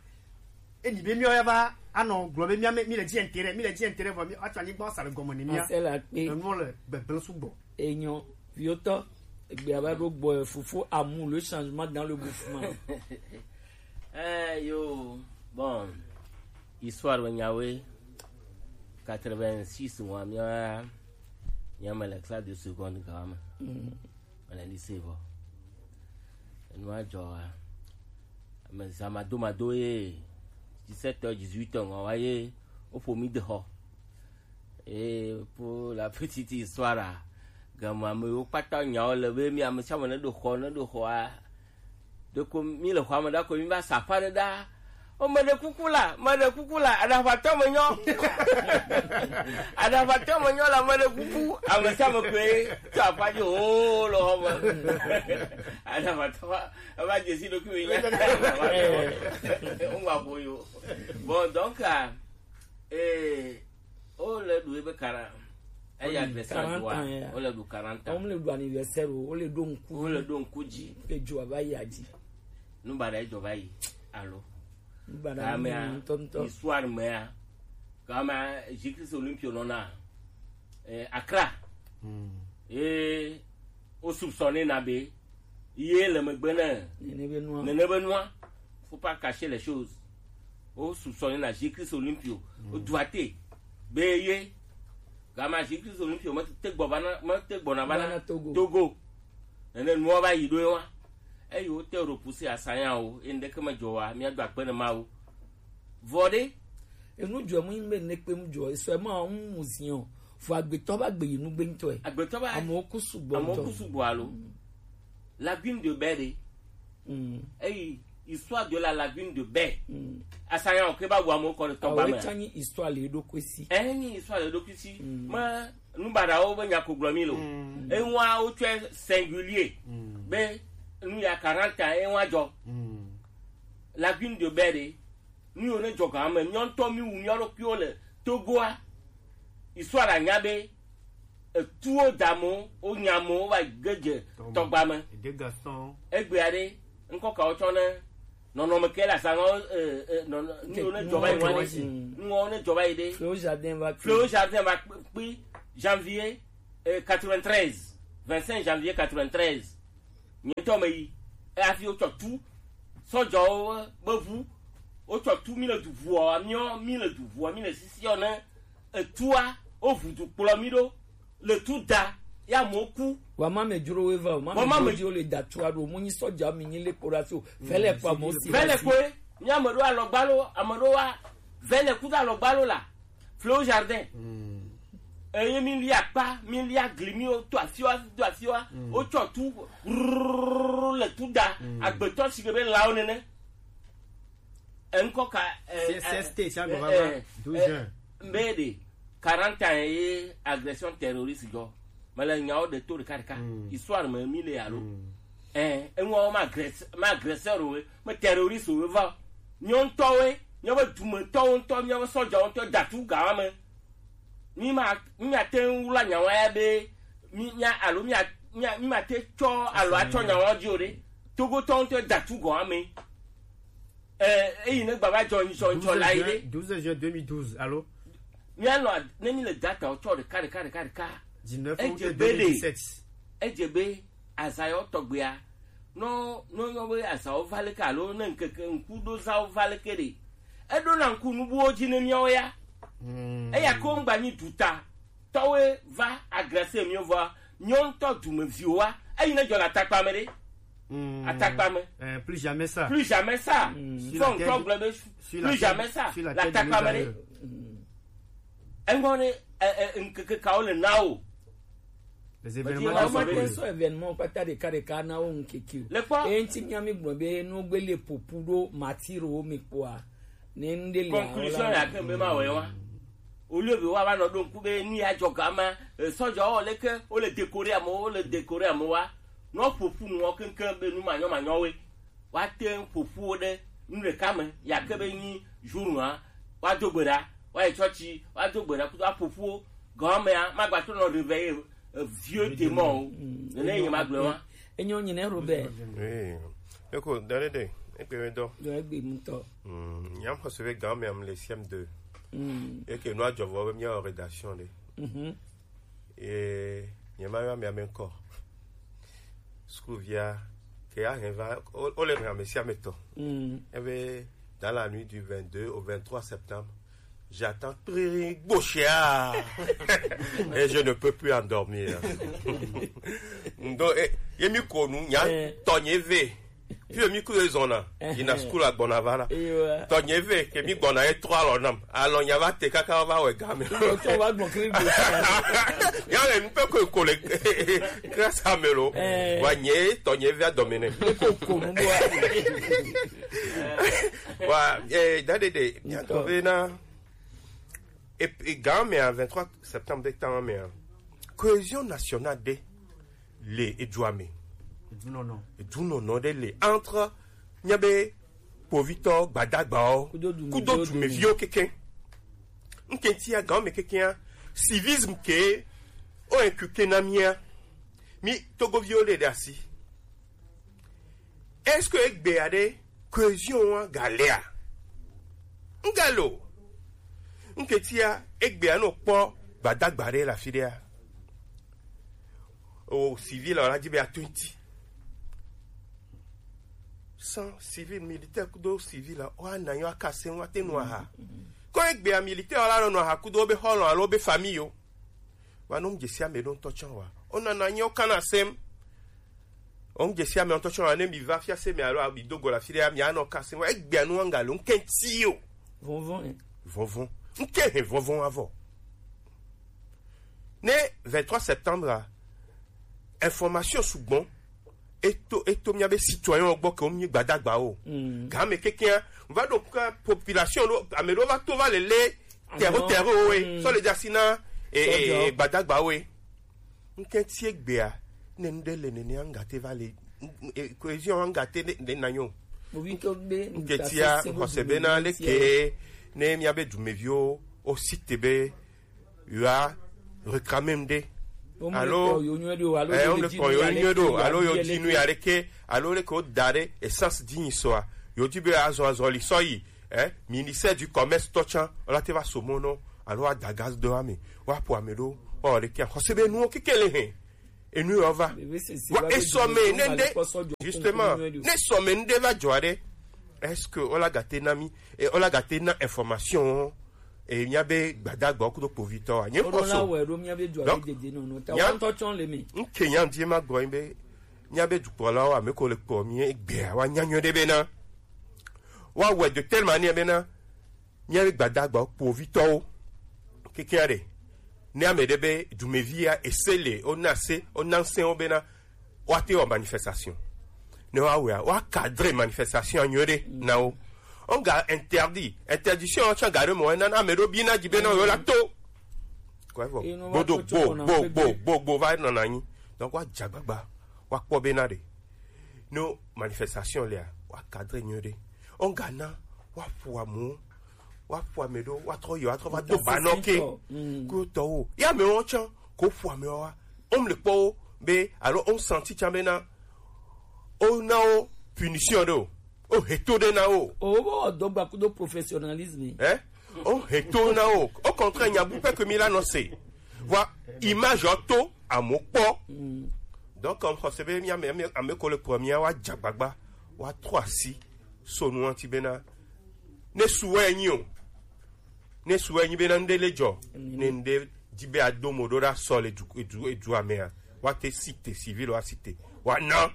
Eni be míawo ya va anɔ gblɔ be mía me- míle dzi intérêt, míle dzi intérêt vɔ mí- woatsɔ anyigba woasa le gɔme ne mía. Ase la kpe. Enuɔ le gbegblẽ sugbɔ. Enyo, viotɔ, egbea va ɖo gbɔ, fofo amu le changement dans le mouvement. Eh, yo, bon, histoire be nyawoe, quatre-vingt-six mois, mía, mía me le classe de seconde gawa me. Mm. Mele lycée vɔ. Enua dzɔ wa. Ame zã madomado ye, dix-sept heures, dix-huit heures ŋɔ wa ye, woƒo mí de xɔ. Et pour la petite histoire, game ame yiwo kpata nyawo le be mí ame sia ame ne ɖo xɔ, ne ɖo xɔa, ɖeko mí le xɔa me ɖa ko mí va sa aƒe aɖe ɖa. O, meɖe kuku la, meɖe kuku la, aɖaʋatɔ me nyɔ. Aɖaʋatɔ me nyɔ la, meɖe kuku. Ame sia ame koe tso aƒa dzi, o, le xɔ me. Aɖaʋatɔ va, eva dze si ɖokui me nya. Woma ƒo yo. Bon, donc, ah, eh, o le ɖu ebe quarante. Eya adversaire quarante ans, ya. O le ɖu quarante ans. O le ɖu anniversaire o, o le ɖo ŋku. O le ɖo ŋku dzi. Ke dzo va yi adzi. Nu baɖa edzɔ va yi alo? Nu baɖa. Kamea, ŋutɔŋutɔ. Histoire mea, kamea, Jésus Christ Olympio nɔna, eh, Accra. Hmm. Ye o soupçonné na be ye le megbe ne nene be nua. Nene be nua. Faut pas cacher les choses. O soupçonné na Jésus Christ Olympio. Hmm. O doit be ye. Kamea, Jésus Christ Olympio me te gbɔ va na, me te gbɔna va na Togo. Togo. Nene nua va yi ɖo ye wa. Eyi wote repousser asanya o, ye ŋɖeke medzɔ wa, míado akpe ne Mawu. Vɔ ɖe? Enu dzɔ mu be ne kpe mu dzɔ, esɔ ma mu mu ziɔ. Fo agbetɔ ba gbe yi nu gbe ŋutɔ. Agbetɔ ba. Amewo ku sugbɔ. Amewo ku sugbɔ alo. Mm. Lagune de Baie ɖe. Mm. Eyi histoire de la lagune de Baie. Mm. Asanya o ke ba wu amewo kɔ ɖe tɔgba me. Awo tsa nyi histoire le ɖokui si. Eh, nyi histoire le ɖokui si. Mm. Me Nubaɖawo be nya ko gblɔ mi lo. Mm. Eŋua wotsɔe singulier. Mm. Be nu ya quarante ans eŋua dzɔ. Mm. Lagune de Baie ɖe, nu yiwo ne dzɔ ga me, míawo ŋutɔ mi wu mía ɖokuiwo le Togoa. Histoire anya be etuwo da mo, wonya mo, wova ge dze tɔgba me. Egbea ɖe, ŋkɔ kawo tsɔ ne nɔnɔme ke le azã ŋɔ, eh, eh, nɔnɔ-, nuwo ne dzɔ va yi ŋua ɖe. Mm. Nuwo ne dzɔ va yi ɖe. Fléau Jardin va kpi. Fléau Jardin va kpi, kpi, janvier. eh, quatre-vingt-treize, vingt-cinq janvier quatre-vingt-treize. Nye ŋutɔ me yi. Eya fi wotsɔ tu sɔdzɔwo be ʋu. Wotsɔ tu mi le du ʋua, miɔ mi le du ʋua, mi le sisiɔ ne etua, woʋu du kplɔ mi ɖo. Le tu da, ya mo ku. Wa ma me dzro we va o, ma Wa me ma dzro me dzi o le da tua ɖo, mo nyi sɔdza mi nyi le kpora so. Vele kwa mo si. Vele koe, mi ame ɖo alɔgbalo, ame ɖo wa, vele kudo alɔgbalo la. Fleo jardin. Eye mi li akpa, mi li agli, mi wo to afiwa, do afiwa, wo tsɔ tu, rrrr, le tu da, agbetɔ si ke be lawo nene. Enkɔ ka, eh, C S T, eh, ça, eh, va, eh, douze juin. Mbe de quarante ans ye agression terroriste go. Mais le nyawo de to de karika. Histoire me mi le alo. Eh, enwa ma agres-, ma agresseur we, ma terroriste we va. Nyo ŋutɔ we, nyo be dumetɔ ŋutɔ, nyo be sɔdza ŋutɔ datu gawa me. Mi ma, mi ma te ŋu la nyawa ya be, mi nya alo mi a, mi a, mi ma te tsɔ alo atsɔ nyawa dzi o de. Togo tɔ ŋutɔ datu gawa me. Eh, eyi ne gbava dzɔ ŋtsɔ ŋtsɔ la yi de. Douze juin deux mille douze, allô? Míanɔ a-, ne mi le data wo tsɔ ɖeka, ɖeka, ɖeka, ɖeka. Dix-neuf août deux mille dix-sept. Edze be azayɔ tɔgbea. No, no yɔ be azawo va leke alo ne ŋkeke ŋkuɖozawo va leke ɖe. Eɖo na ŋku nubuwo dzi ne míawo ya. Eya ko ŋgba nyi duta. Tɔwoe va agresser miwo vɔa, miwo ŋutɔ dumeviwo wa, eyi ne dzɔ le atakpa me ɖe. Atakpa me. Euh, plus jamais ça. Plus jamais ça. Fɔ ŋutɔ gblɔ be plus jamais ça. Sur la tête de nos aïeux. Le atakpa me ɖe. Eŋɔ ne, eh, eh, ŋkeke kawo le na o. Les événements qui sont passés. Sɔ événement kpata ɖeka ɖeka na wo ŋkeke o. Le kpɔ. Eye ŋti mía mi gblɔ be no gbe le popu ɖo matiro wo mi kpɔa. Ne ŋɖe le conclusion ya ke be ma wɔ wa. Au lieu be woava nɔ ɖo ŋku be nu ya dzɔ gama, eh, sɔdzawo leke, wole décorer amewo, wole décorer amewoa, ne woƒo ƒu nuwo keŋkeŋ be nu manyɔmanyɔwoe, woate ŋu ƒo ƒu wo ɖe nu ɖeka me, ya ke be nyi jour nua, woado gbe ɖa, woayi tsɔtsi, woado gbe ɖa kudo aƒo ƒu wo, gɔmea, magbatrɔ nɔ réveiller, eh, vieux démon o. Nene ye magblɔ wa. Enyo nyine Robert. Oui. Eko, dare de, ekpe me dɔ. Dɔ egbe ŋutɔ. Mm, nyam xɔse be gã me am le C M deux. Mm. Eke nua dzɔ vɔ be mía rédaction ɖe. Mhm. Ye, nye ma yɔ ame ame ŋkɔ. Sukuvia, ke ya hɛn va, o, o le hɛn ame sia ame tɔ. Mm. Ebe, dans la nuit du vingt-deux au vingt-trois septembre, j'attends très gauchia. Et je ne peux plus endormir. Donc, eh, ye mi ko nu, nya, eh, tɔnye ve. Puis mi ku zona, il na school a gbɔna va la. Ewa. Tɔnye ve, ke mi gbɔna ye trois lɔ nam. Alors, nya va te kaka va wɛ game. Yo, to va gbɔn kiri gauchia. Ya le nu pe ko ko le. Grâce à Melo. Eh. Wa nye, tɔnye ve a domine. Ko ko nu bo. Wa, eh, dade de, nya to ve na. Et, et gã me a vingt-trois septembre de temps me a. Cohésion nationale de le edua me. Edunɔnɔ. Edunɔnɔ de le entre, nya be, kpovitɔ, gbadagbawo, kudo dumeviwo keke. Nkenti a gã me keke a, civisme ke, o inculqué na mía. Mi Togoviwo le ɖe asi. Est-ce que egbea ɖe cohésion wa galea? Ŋgale o. Ŋketia egbea no kpɔ gbadagba ɖe le afi ɖea. O civil la dzi be ato ŋti. Sans civil, militaire kudo civil la, wa na yo aka se wa te nu aha. Ko egbea militaire la no aha kudo be xɔlɔ alo be famille yo. Wa no mdze sia me ɖo ŋutɔ tsã wa. O nana nyo kana sem. O ŋdze sia me ŋutɔ tsɔ ne mi va fiase me alo mi do go le afi ɖe, mi anɔ kase wa egbea nu anga le ŋkɛntsi o. Vɔvɔn, eh. Vɔvɔn. Ŋkɛ he vɔvɔn avɔ. Ne vingt-trois septembre a, information sugbɔn eto, eto mía be citoyen gbɔ ke wo mi gbadagba o. Mm. Game kekea, va ɖo ka population ɖo, ame ɖo va to va le le terre terre o e. Mm. Sɔ le dasi na, e, e, gbadagba o e. Ŋkɛntsi egbea, ne nu ɖe le nenea, ŋgate va le, n-, n-, e, cohésion ŋgate ne, ne nanyo. Ŋkɛntsia, xɔse bena leke ne mía be dumeviwo wo cite be yewoa réclamer nu ɖe. Alo, eh, wo le kpɔ yo nyuie ɖo, alo yo di nu ya ɖeke, alo leke wo da ɖe essence di nyi sɔa, yo di be azɔ azɔli sɔ yi, eh, ministère du commerce tɔ tsã, wo la te va so mɔ nɔ, alo wa da gaz do ame, wa po ame ɖo, Ɔ ɖe kia xɔse be nuwo kekele hɛn enu yɔ va. Wa esɔme ne nde, justement, ne esɔme nde va jɔ ɖe, est-ce que ola gate na mi? E ola gate na information e mia be gbadagba kudo povitɔ a nye kɔso. Donc nya nke nya die ma gɔ be mia be dukpɔlawo ame ko le kpɔ mi egbe wa nya nyɔ ɖe be na wa wɛ de telle manière be na mia be gbadagba povitɔwo keke ɖe ne ame ɖe be dumevi ya ese le o na se o na se o be na wa te wɔ manifestation. Ne wa wɛ wa cadre manifestation nyɔ ɖe na wo. On ga interdit, interdiction wa tsa ga ɖe mɔ na na ame ɖo bi na dzi be na yo la to. Kɔɛ vɔ gbodo gbo gbo gbo gbo gbo va nɔ na nyi. Donc wa dza gbagba wa kpɔ be na ɖe no manifestation lea wa cadre nyɔ ɖe. On ga na wa ƒo amu wa ƒo ame ɖo wa trɔ yɔ wa trɔ va do ba nɔ ke. Ko tɔwo ya me wo tsa ko ƒo ame wa. On le kpɔ wo be alo on senti tsa be na o na wo punition ɖe o. O heto ɖe na wo. O bo dɔgba kudo professionnalisme. Eh? O heto na wo. Au contraire nya bu pɛ ke mi la nɔ se. Wa image o to amo kpɔ. Donc on xɔse be mi ame ame ame ko le kpɔ mi wa dza gbagba wa trɔ asi so nu anti be na ne su wɛ nyi o. Ne su wɛ nyi be na nde le jɔ ne nde di be adomo ɖo ɖa sɔ le du edu edu amea wa te site civil wa site wa na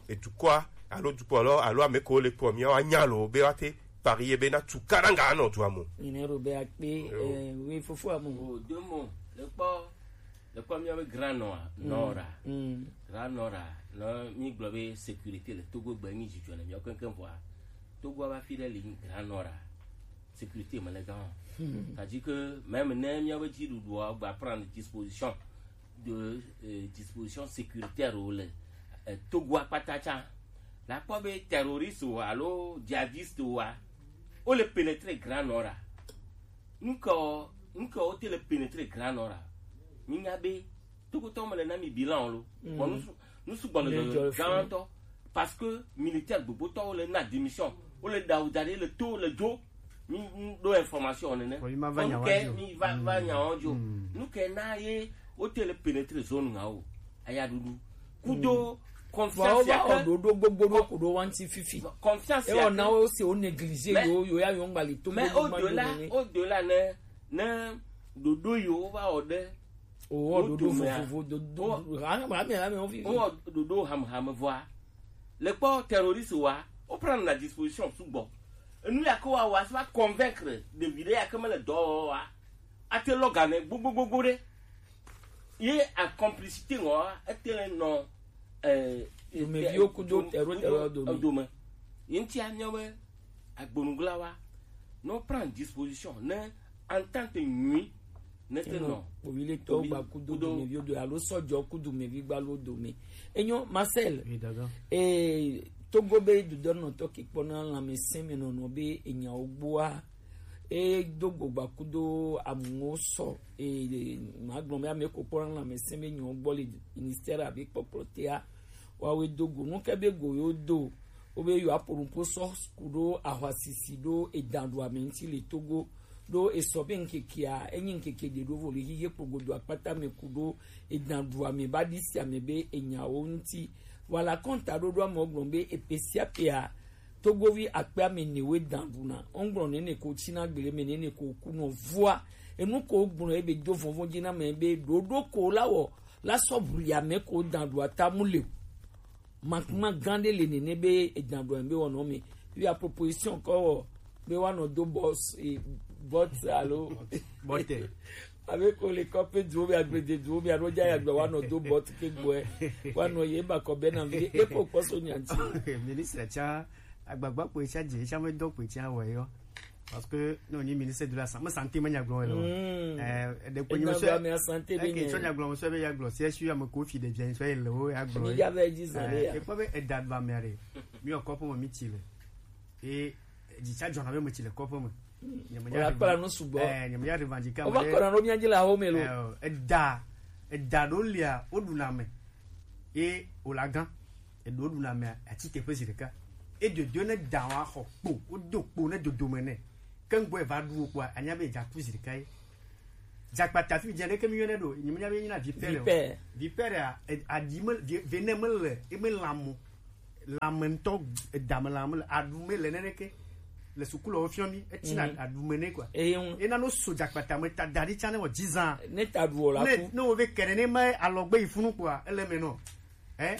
edukɔa alo dukɔlɔ alo ame ko le kpɔ mia wa nya lo be wa te pari ye be na tu karanga anɔ dua mo. Ine ro be akpe eh, wi fofo amu. O domo le kpɔ le kpɔ mia be grand nɔa nɔra grand nɔra no mi gblɔ be sécurité le Togo gbe nyi dzidzɔ le mia keŋkeŋ vɔa Togo va fi ɖe li grand nɔra sécurité me le gan. C'est-à-dire que même ne mia be dziɖuɖua gba prendre disposition de euh, disposition sécuritaire o le euh, Togo akpata tsa la kpɔ be terroriste o alo djihadiste o a o le pénétrer grand nord a ŋkɔ ŋkɔ o te le pénétrer grand nord a mi nya be Togotɔ me le na mi bilan o lo bon nous nous sugbɔ le gantɔ parce que militaire gbogbotɔ o le na démission o le dawu da ɖe le to le dzo mi do information nene. Bon, mi ma va nya wa dzo. Mi va va nya wa dzo. Nu ke na ye o te le pénétrer zone nga o. Aya dudu. Kudo confiance ya ke. Dodo gbogbo do kudo wanti fifi. Confiance ya ke. E o na o se o négliger yo yo ya yo ngba le to. Mais au delà, au delà ne ne dodo yo va o de. O dodo fofo dodo. Ha ha me ha me o fifi. O dodo ham ham voa. Le kpɔ terroriste wa o prendre la disposition sugbɔ. Enu ya ke wa wa se va convaincre ɖevi ɖe ya ke mele dɔ wa ate lɔ ga ne gbogbogbogbo ɖe ye a complicité ŋɔ ete le nɔ eh, dumeviwo kudo tero tero dome. Dome ye ŋuti anyɔ be agbonuglawa ne prend disposition ne entente nyui ne te nɔ kpoviletɔwo gba kudo dumeviwo do alo sɔjɔ kudo dumevi gba lo dome. Enyo Marcel. Eh, Togo be dudɔnɔtɔ ke kpɔna lãmesẽ me nɔnɔ be enyawo gbɔa e do gbogba kudo amuwo sɔ e magblɔ be ame ko kpɔna lãmesẽ be nyawo gbɔ le ministère abe kpɔkplɔ tea wawe do go nu ke be go yo do wo be yo aƒo nuƒo sɔ ku ɖo ahwasisi ɖo edanɖuame ŋuti le Togo ɖo esɔ be ŋkekea enyi ŋkeke ɖe ɖo vo le hihe kpogodo akpata me ku ɖo edanɖuame ba ɖi sia me be enyawo ŋuti. Voilà kɔnta ɖoɖo amewo gblɔ be epe sia pea Togovi akpe ame ene woe dan ɖuna. Wogblɔ nene ko tsina gble me nene ko kunɔ vua. Enu ko gblɔ ebe do vɔvɔ̃ dzi na me be ɖoɖo ko la wɔ la sɔ bli ame ko dan ɖua ta mu le o. Makuma gã ɖe le nene be edan ɖua be wɔnɔ me. Bi a proposition kɔ wɔ be wa nɔ do bɔs e bɔt alo bɔtɛ. Abe ko le kɔƒe duwo be agbede duwo be alo dza ya gbe wa nɔ do bɔt ke gbɔɛ wa nɔ ye ba kɔ be na vi de ko kpɔ so nya ti. Ministre tsa agbagba kpoe tsa dze tsa me dɔ kpoe tsa wɔ yɔ. Parce que non ni ministre de la santé, santé me nya gblɔ le. Eh de ko ni me so. Santé be ke so nya gblɔ so be ya gblɔ si esu ya me ko fi de bien so le o ya gblɔ. Ni ya be ji sa le ya. E ko be e da ba me re. Mi o ko po mi ti le. E dzi tsa dzɔna be me tsi le kɔƒe me. Wòle akpla nu sugbɔ. Eh, nyemenya revendiquer ame ɖe. Wova kɔna ɖo mía dzi le awo me lo. Eh, eda, eda ɖo lia, woɖuna ame. Ye wòle agã. Eɖo ɖuna amea, atsi teƒe zi ɖeka. Edodo ne da wa xɔ kpo, wodo kpo ne dodome nɛ. Ke ŋgbɔ eva ɖu wo kpoa, anya be edza ku zi ɖeka ye. Jakpata fi dze ɖeke mi yɔnɛ ɖo, nyi mi nya be nyi na vipère o. Vipère. Vipère a, e- aɖi me vi- vene me le, e me lamo. Lame ŋutɔ, edame lame le, aɖu me le nene ke. Le sukulu wo fiɔ mi, etsina aɖu me ne quoi. Eye ŋu. Ena no so jakpata me ta da ɖi tsa ne wɔ dzi zã. Ne ta ɖu o la Ne ku. Ne wo ve kene ne ma alɔgbe yi funu quoi, ele me nɔ. Eh?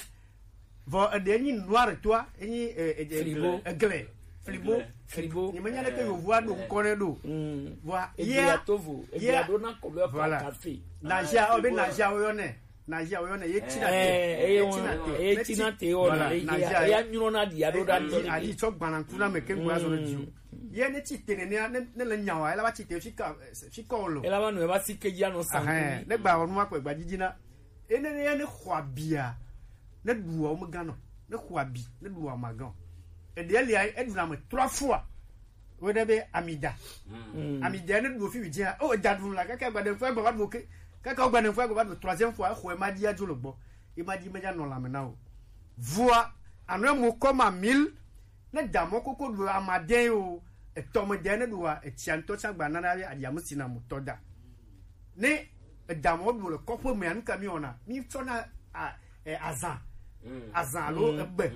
Vɔ eɖe nyi noir toa, enyi eh, eh, eh, Frigo. Egle. Frigo. Frigo. Nyi me nya ɖeke yovoa ɖo ŋkɔ ne ɖo. Vɔa Ebia ye tovo, ebia ye ɖo na kɔlɔ Voilà. Kafe. Nazia, o be nazia o yɔnɛ. Nazia o yɔnɛ ye tina te. Eh, eye Ye tina te. Ye Ne ti- tina te o Voilà, na ye nazia ya ye- nyro na dia ɖo da Ayi to. Ayi tsɔ gbananku na me ke ŋgba zɔ ne dzi o. Ye ne ti te ne ne ne le nyawa, ela ba ti te fi ka fi kɔ lo. Ela ba nu eba si ke ya no Ahɛn, sanku. Ne gba ɔnu akpɛ gba didi na. Ene ne ne xɔ abia. Ne ɖu wa me gan no. Ne xɔ abi, ne ɖu wa ma gan. Eɖe lia eɖu na me trois fois. Wo ɖe be amida. Amida ne ɖu fi wi dia. O da ɖu la kaka gba de fo gba ba ɖu ke. Kaka gba de fo gba ba ɖu troisième fois xɔ ma dia jo lo gbɔ. E ma di me ja no la me na o. Vua anu mo kɔ ma mil. Ne da mɔ koko ɖu amadɛ o. Etɔ me dɛ ne ɖu wa etia ŋutɔ tsa gba na na ya adia me si na mo tɔ da. Ne edamɔ ɖu le kɔƒe mea, nu ka mi wɔna? Mi tsɔna a- e- azã, azã alo egbe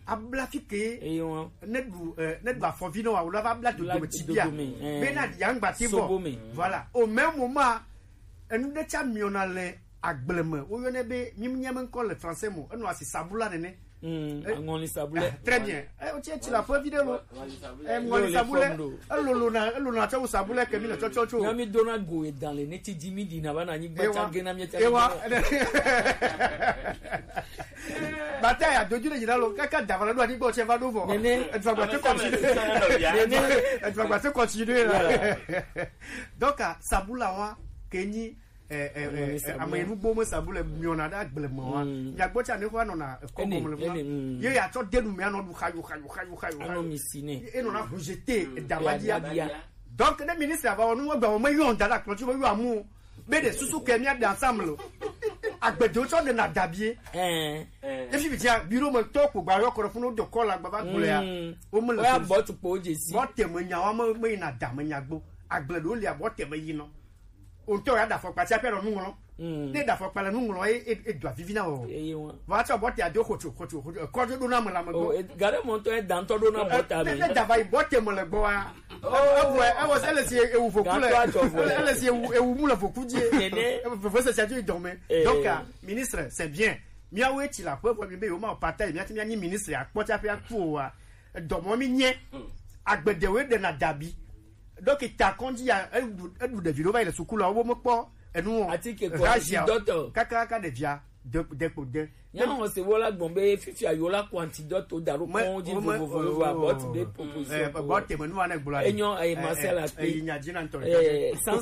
abla fi ke. Eye wọn. Ne ɖu e- ne ɖu afɔvi ne wa wòle va abla dodome tsi bia. Dodome, eh. Be na ɖi aŋgba te Sobo bɔ me. Voilà, au même moment enu ɖe tsa miɔna le agble me, woyɔnɛ be mi nya me ŋkɔ le français mo, enɔ asi sabula nene. Mm, Eh, aŋɔli sabulɛ. Très bien. Eh, o tse tsi la fɔ vi ɖe lo. Eh, ŋɔli sabulɛ. Elolo na elolo na tsɔ sabulɛ ke mi le tsɔtsɔ tso. Nya mi dona go edan le ne ti di mi di na va na nyi gba tsa ge na mi tsa. Ewa. Bata ya doju le yina lo kaka dava la do ani gbɔ tse va do vɔ. Nene. Edua gba te continue. Nene. Edua gba te continue la. Donc ah, sabula wa ke nyi eh, eh, eh, ame nugbo me sabu le miɔna ɖe agble me wa. Miagbɔ tsa ne xɔ anɔna ekɔ gɔme le funa. Ye ya tsɔ denu me anɔ ɖu xayo xayo xayo xayo. Anɔ mi si ne. Enɔna rejeter edamadia. Donc ne ministre ava wɔ nu egbe me yɔ da la kplɔ tsi me yɔ amu be de susu ke mia de ensemble. Agbedewo tsɔ de na dabie. Efi bi tia biro me tɔ ko gba yɔ kɔrɔ funu do kɔ la gba va gblɔ ya. Wo me le. Oya bɔ tukpo jesi. Bɔ teme nya wa me me yina da me nya gbo. Agble ɖewo lia bɔ teme yi nɔ. O ŋutɔ ya da afɔkpa tsi aƒe nɔ nu ŋlɔ. Ne da afɔkpa le nu ŋlɔ ye e e do avivi na o. Eye wọn. Vɔ atsɔ bɔta do xotso xotso xotso ekɔdzo ɖo na me la me gbɔ. Gare mɔtɔ ye dantɔ ɖo na bɔta me. Ne da va yi bɔta me le gbɔ wa. Ebu e ebu se le si ewu voku le. Ele si ewu ewu mu le voku dzi. Nene. Veve se sia dzi dɔme. Donc ah, ministre, c'est bien. Miawo etsi la ƒe vɔ mi be yewo ma pata yi miati mianyi ministre akpɔ tsi aƒe akpɔ wa. Dɔmɔ mi nye. Agbedewo ɖe na dabi. Donc ta kɔndzi ya eɖu eɖu ɖevi ɖewo va yi le suku la wo mekpɔ enu o. Ati ke kɔ Razia o. Antidote. Kaka kaka ɖevia de de kpo de. Nyɔnu se wo la gbɔn be fifia yo la kɔ antidote da ɖo kɔn dzi vovovo vovo abɔti be proposition. Bɔ teme nu ane gblɔ. Enyo eye Marcel a pe. Eyi nya dzi na ntɔ. Eh, sans.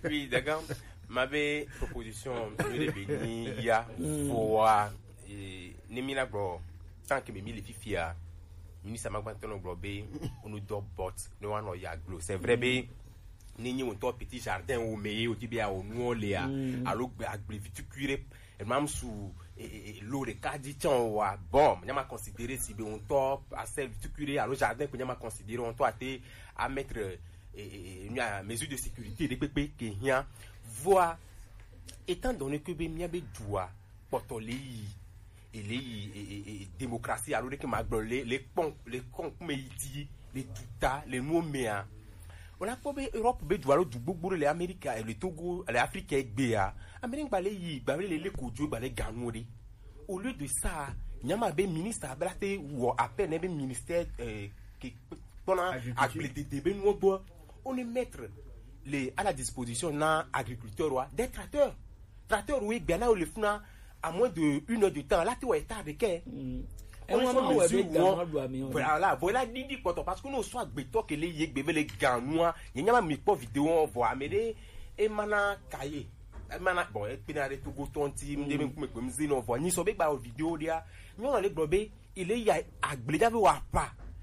Oui, d'accord. Ma be proposition yo de be ni ya voa. Eh, ne mi la gbɔ tant que mi le fifia. Ministre ma gbantɔ nɔ gblɔ be onu dɔ bɔt ne wa nɔ ya glo. C'est vrai be ne nyi ŋutɔ petit jardin wo me ye o ti be awo nuɔ lea alo gbe agble vitukui ɖe enam su e- e- e- lo ɖeka dzi tsã wa bon nya ma considérer si be ŋutɔ asel vitukui ɖe alo jardin ko nya ma considérer ŋutɔ ate a mettre e- e- e- nya mesure de sécurité ɖe kpekpe ke hiã. Voa étant donné que be mia be dua kpɔtɔ le yi ele yi e- e- e- démocratie alo ɖeke ma gblɔ le le kpɔn le kɔn kume yi di le duta le nuwo mea. O la kpɔ be Europe be du alo du gbogbo ɖe le Amerika le Togo le Afrika egbea. Amerika gba le yi gba le le kodzo gba le ganu ɖe. Au lieu de ça, nyama be ministre abla te wɔ appel ne be ministère euh, ke kpɔna agbledede be nuwo gbɔ. On est mettre les à la disposition na agriculteur wa des tracteurs. Tracteur wo egbea na wo le funa à moins de une heure de temps la te wɔ état de kɛ. Ɛwọn ma wɔ be gan ma do ami o. Voilà, voilà didi kpɔtɔ parce que no so agbetɔ kele ye gbe vele gan nua ye nyama mi kpɔ vidéo vɔ ame ɖe emana kaye emana bon ekpena ɖe togo tɔnti mi ɖe mi kume kpem zi nɔ vɔ nyi sɔ be gba vidéo ɖea nyɔnɔ le gblɔ be ele ya agbledave wa pa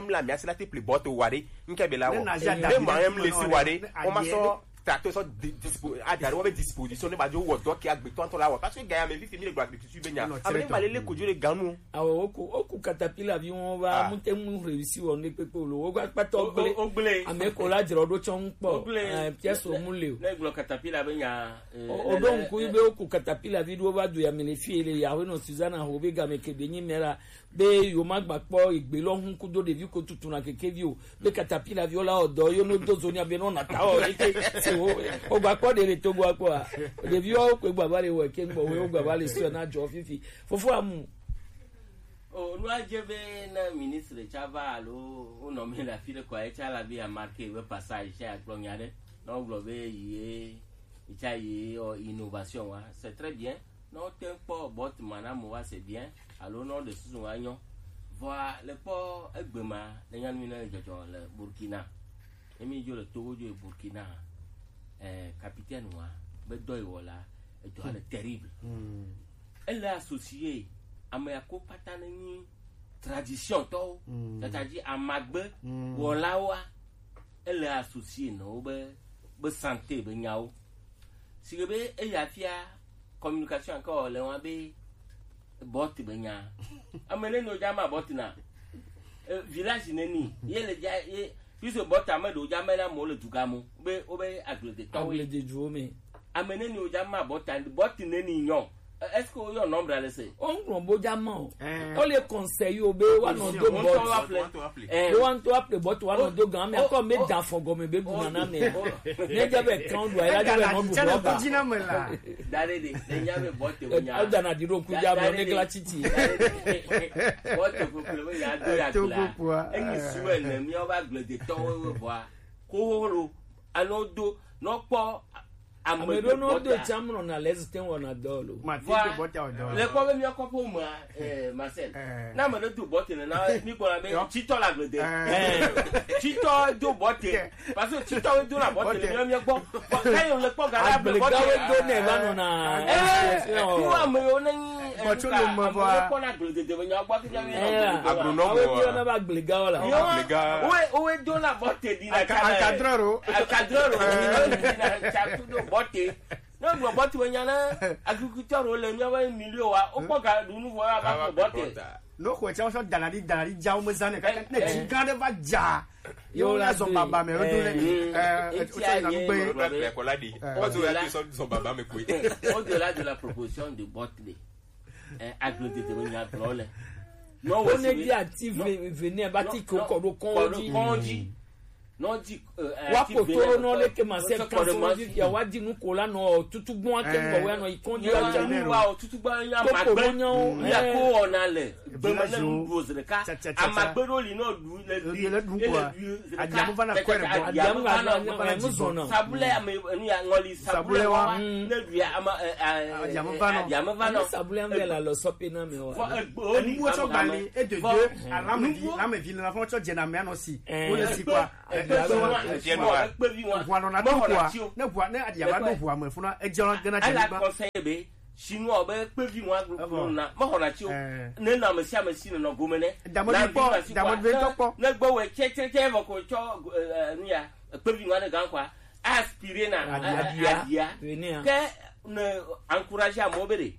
même la mi asi la te pli bɔ to wa ɖe. Nke be la Ne wɔ. na ja Ne da ma ɖe même le si wa ɖe. Ne O ma aɖe sɔ tato sɔ di-, dispo-, ada ɖe wɔ be disposition ne ba dzo wɔ dɔ ke agbetɔ ŋutɔ la wɔ. Parce que gaya me fifi mi le gblɔ agriculture be nya. Ame ne ba le le kodzo le ganu. Awo, woku, woku katapila vi wọn va, Ah. mute mu réussi wɔ ne kpekpe lo. Wo gba kpatɔ O, o, gble. o gble. Ame ko la dzrɔ ɖo tsɔ ŋkpɔ. O gble. Eh, pièce o mu le o. Ne gblɔ katapila be nya, eh, O, ne, o ɖo ne, ŋku eh, be woku katapila vi ɖo va do ya me le fi le ya, wo nɔ Susanna ho be game ke be nyi mera. Be yewo ma gba kpɔ egbe lɔ ŋu kudo ɖevi ko tutu na kekevi o. Be katapila viwo la wɔ dɔ yo no do zo nya be no na ta o eke se wo. O gba kpɔ ɖe le Togo akpɔ a. Ɖeviwo ko gba va le wɔ ke ŋgbɔ wo gba va le sɔ na dzɔ fifi. Fofo amu. O, nu adze be ne ministre tsa va alo wonɔ mi le afi ɖe kɔa, etsa la be amarke be passage tsa agblɔ nya ɖe. Ne wogblɔ be yi ye, etsa yi ye, o, innovation wa, c'est très bien. Ne wote ŋu kpɔ bɔt ma na mo wa, c'est bien, alo ne woɖe susu wa nyɔ. Vɔa le kpɔ egbe ma, le nyanu mi ne le dzɔdzɔ le Burkina. Emi dzo le Togo dzo yi Burkina, eh, capitaine wa, be dɔ yi wɔ la, edɔ le terrible. Ele associé ame ya ko kpata ne nyi tradition tɔwo, c'est-à-dire amagbe wɔlawoa, ele associé na wo be, be santé be nyawo. Si ke be eya fia communication ke wɔ le wa be bɔt be nya. Ame ne no dza ma bɔt na. Eh, village ne ni, ye le dza, ye, puisque bɔt ame ɖewo dza me na mo le duga mo, be, wo be agble de tɔwo. Agble de duwo me. Ame ne ni o dza ma bɔt, bɔt ne ni nyɔ. Eh, est-ce que o yɔ nombre le se? O ŋlɔ bo dza ma o. Eh. O le conseil o be wa nɔ do Ŋutɔ wa bɔt. Ple. Eh. Be wa ŋutɔ wa ple bɔt wa nɔ do gan, mais o, encore me o, da fɔ gɔme be bu o, nana me. O. Ne dza be kan do, ya dza be nɔ bu bɔt. Da ɖe ɖe, ne nya be bɔt o nya. O da na di ɖo ku dza me, ne gla titi. Bɔt o kple me ya do ya Togo kpla. Kpua, Enyi eh. Suɛ ne mi o ba gble de tɔwo we bɔa. Ko ho lo, ano do, no kpɔ. Ame ɖewo ne wodo tsã mlɔna le zite wɔna dɔ lo. Mate ŋu bɔta o dɔ. Le kpɔ be míawo kɔƒe mea, eh, Marcel. Eh. Ne ame ɖe do bɔte nena, mí gblɔna be tsitɔ le agble de. Eh. Tsitɔ do bɔte. Parce que tsitɔ wo dona bɔte le míawo mía gbɔ. Vɔ ke ye le kpɔ ga ɖe agble bɔte. Agblegawo do nɛ va nɔna. Eh, tu ame yiwo ne nyi, eh, Bɔtso nuka, lo me ame vɔa. Yiwo kpɔna agbledede me nyawo gbɔ ke míawo míawo Eh, agblɔ. Agronome awo wa. Míawo na va agblegawo la. Yo, Agblega. Wo, wo dona bɔte ɖi na Anka-, tsã le. Ankadrɔ ro. Ankadrɔ ro. Eh. Wo ɖi na tsã kudo bɔte. Ne gblɔ bɔti me nya na agriculteur wo le míaƒe milieu wa, wokpɔ ga ɖu nu vɔ ya va ƒle bɔti. No xɔ tsɛ wosɔ dana ɖi, dana ɖi dza wo me zã ne kaka ne dzi gã ɖe va dza. Yo la zɔ baba me wo do le. Eh, eh, wotsɔ yina nu gbe. Wokpla kɔ la ɖi. Eh. Parce que ya sɔ zɔ baba me koe. Au-delà de la proposition de bɔti de. Eh, aglo de de nya gblɔ le. No, on est bien actif, venez, va ti ko ko do kɔn dzi. Kɔn dzi. Nɔ di, eh, eh, wa ti kotoro vena nɔ le ke ma se kan so di ya wa di nu ko la nɔ tutu gbɔn ake gbɔ wɛ nɔ ikɔn di wa ja nu wa o tutu gbɔn ya ma gbe ya ko ona le gbe ma ne nu do zreka ama gbe do li nɔ du le du le du ko adiamu va na ko re bɔ adiamu va na mu zɔn na sabule ame nu ya ngɔli sabule wa ne du ya ama adiamu va nɔ adiamu va nɔ sabule ame la lɔ sɔpe na me wa enu wo tsɔ gbali e de de alame vi lame vi na fɔ tsɔ jɛ na me anɔ si wo le si kwa. Ʋua nɔna to ʋua ne ʋua ne aɖi ava ɖo ʋua me funa edze ɔlɔ gena dze ala anyigba. Kɔsɛ be sinu ɔbe kpevi ŋua gblɔ na mexɔna tsi o. Ne nɔ ame sia ame si nɔ gome ne damɔdvi kpɔ damɔdvi ŋutɔ kpɔ ne gbe wɛ tsɛtsɛtsɛ vɔ ko tsɔ nuya kpevi ŋua ne gan kwa aspire na aɖia ke ne encourage amewo be ɖe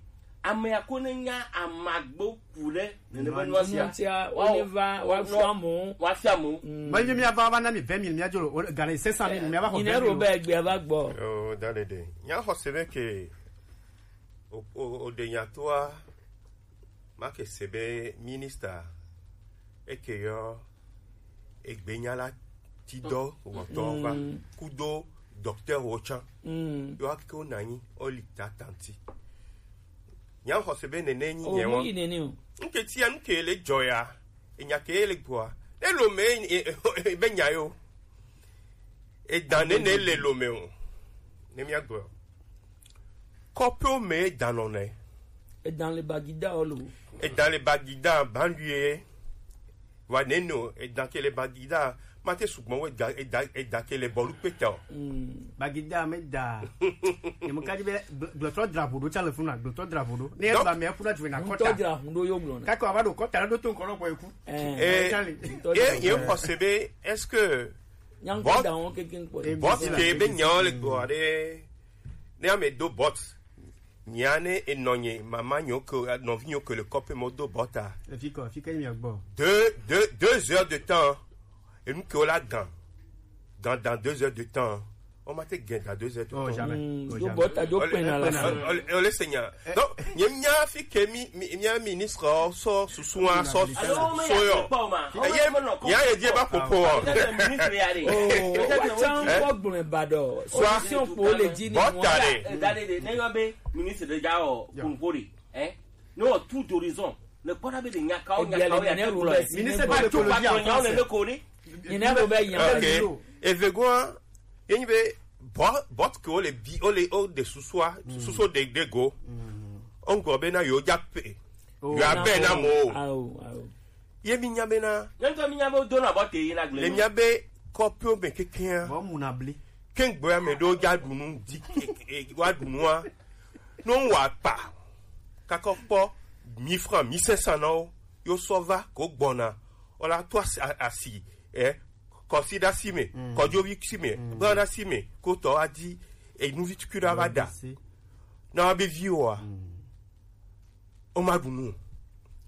amea ko ne nya amagbo ku ɖe nene be nua sia. Nua sia, woava, woafia mo. Woafia mo. Mm. Menye míava va na mi vingt mille, míadzo le, o, gale cinq cent mille, míava xɔ vingt mille. Nyine ɖo be egbea va gbɔ. Oh, da ɖeɖe. Nya xɔ se be ke, o, o, o ɖe nya toa, ma ke se be ministre, eke yɔ, egbenya la ti dɔ wɔtɔ va kudo docteur wo tsã. Yo ake wo nanyi o li ta tanti. Nya xɔse be nene nyi nye wo. Nke tia nke le joya. Enya ke le gboa. E lo me e be nya yo. E dan nene le lo me o. Ne mi agbo. Kɔpe o me e dan nɔ ne. E dan le bagida o lo. E dan le bagida banduye. Wa neno e dan ke le bagida ma te sugbɔn we da e da e da ke le bɔlu kpeta o. Bagida me da. Ne mo ka di be gblɔtɔ drapo do tsa le funa gblɔtɔ drapo do. Ne e ba me kuna tu na kɔta. Gblɔtɔ drapo do yo gblɔ na. Kaka wa do kɔta do to nkɔlɔ kɔ eku. Eh. E e ye ko se be est-ce que Nyankpɔ da wɔn keke nkpɔ. Bɔt ke be nyawo le gbɔ ɖe. Ne ame do bɔt. Nyane enɔnye mama nyo ke nɔvi nyo ke le kɔpe mo do bɔta. Efi kɔ, fi ke mi gbɔ. Deux, deux, deux heures de temps. Enu ke wo la gan. Gan dans deux heures de temps. On m'a te gan dans deux heures de temps. Oh, jamais. Mm, oh, do jamais. Bɔta do pena la. O le senya. Donc, nye nya fi ke mi mi nya ministre so susu a so so yo. Ye ya ye die ba popo. Ministre ya de. Oh, wa chan ko gbun ba do. Solution pour le dini. Bɔta de. Dade de ne yo be ministre de ja o kunko de. Eh? No tout d'horizon. Ne kpɔna be de nyakawo nyakawo ya ne ro be ministre ba de ko ya ne ko ni. Ni ne ro be ya. OK. Evegua yenyi be bɔt ke o le bi o le o de susua suso de de go. Ongo be na yo ja pe. Yo abe na mo. Ye mi nya be na. Nyɔntɔ mi nya be do na bɔ te yi na gble. Le mi nya be kɔpio be kekea. Bɔ mu na bli. Kengbe ame ɖewo dza ɖu nu di wa ɖu nua. No wa pa. Kakɔ kpɔ mille francs, mille cinq cents na wo. Yo sɔ va ko gbɔna. Ola to asi, asi eh kɔsi ɖe asi me, kɔdzovi si me, bra ɖe asi me, ko tɔ adi enuvi tukui ɖe va da. Na wa be vi wa. O ma ɖu nu.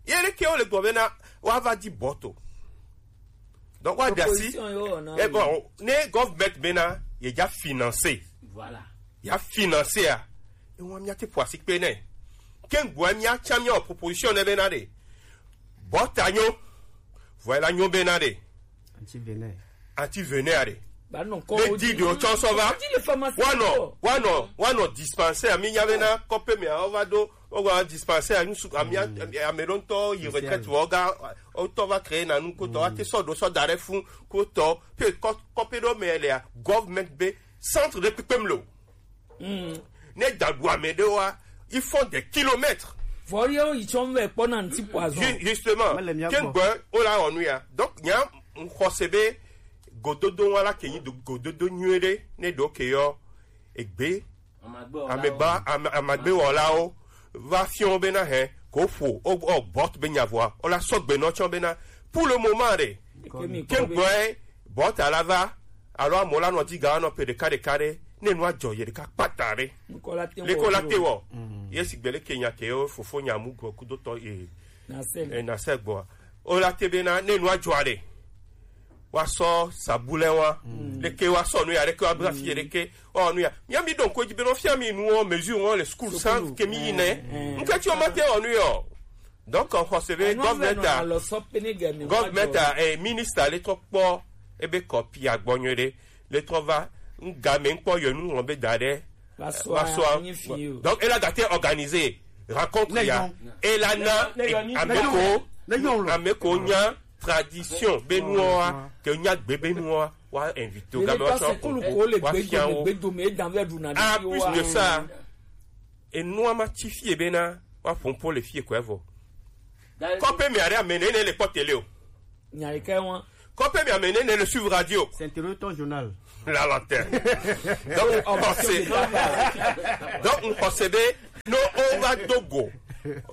Ye ɖe ke wo le gbɔ be na wa va di bɔto. Donc wa dasi. E bon, ne government be na ye ja financer. Voilà. Ya financer a. E wa mi ate poisi pe ne. Ken gwa mi a cha mi o proposition ne be na de. Bɔta nyo. Voilà nyo be na de. Anti venin. Anti venin a de. Ba non ko. Le di de o cho so va. Wa no, wa no, wa no dispensaire mi nya be na kope mi a o va do o wa dispensaire nu su ami ami don to yi retraite wo ga o to va créer na nu ko to a te so do so dare fun ko to pe ko pe do me le a government be centre de pipem lo. Ne dagua me de wa ils font des kilomètres. Vɔ ye yi tsɔ vɛ kpɔ na ŋti poison. Justement. Ken gbɔ o la onu ya. Donc nya xɔse be gododo wa la ke yi gododo nyuie de ne do ke yo egbe amegba amagbe wɔlawo va fiɔ be na hɛ ko ƒo o bɔt be nya vɔa o la sɔgbe nɔ tsɔ be na pour le moment de. Ken gbɔ bɔt a la va alo amewo la nɔ di ga nɔ pe ɖeka ɖeka ɖe ne nua dzɔ ye ɖeka kpata ɖe. Leko la te wɔ ye si gbe leke nya ke wo fofo nya mu gɔ kudotɔ ye na se gbɔa o la te be na ne nua dzɔ ɖe wa sɔ sabulɛ wa leke wa sɔ nu ya leke wa bla fi leke wa nu ya mia mi don ko dzi be no fia mi nu o mesure o le school sans ke mi yi ne nke ti o ma te o nu yo. Donc on xɔse be government a government a eh, ministre le to kpɔ Ebe kɔpi agbɔ nyuie ɖe. Le trɔ va, ŋga me ŋkpɔ yɔ nu ŋlɔ be da ɖe. Va sɔa, va sɔa. Nyi fi o. Donc, elle a gâté organisé rencontre ya. Et là, na, ameko, ameko nya tradition be nuwa, ke nya gbe be nuwa, wa invité o game wa sɔ ko, wa fian o. Ah, plus de ça, et nuwa ma ti fie be na, wa pompo le fie ko evo. Kɔpe mi are amene ne le kpɔ télé o. Nya yi ke wan. Kɔpe mi amene ne le suivre radio. C'est intérieur ton journal. La lanterne. Donc, on sait. Donc, on sait be, no, on va dogo.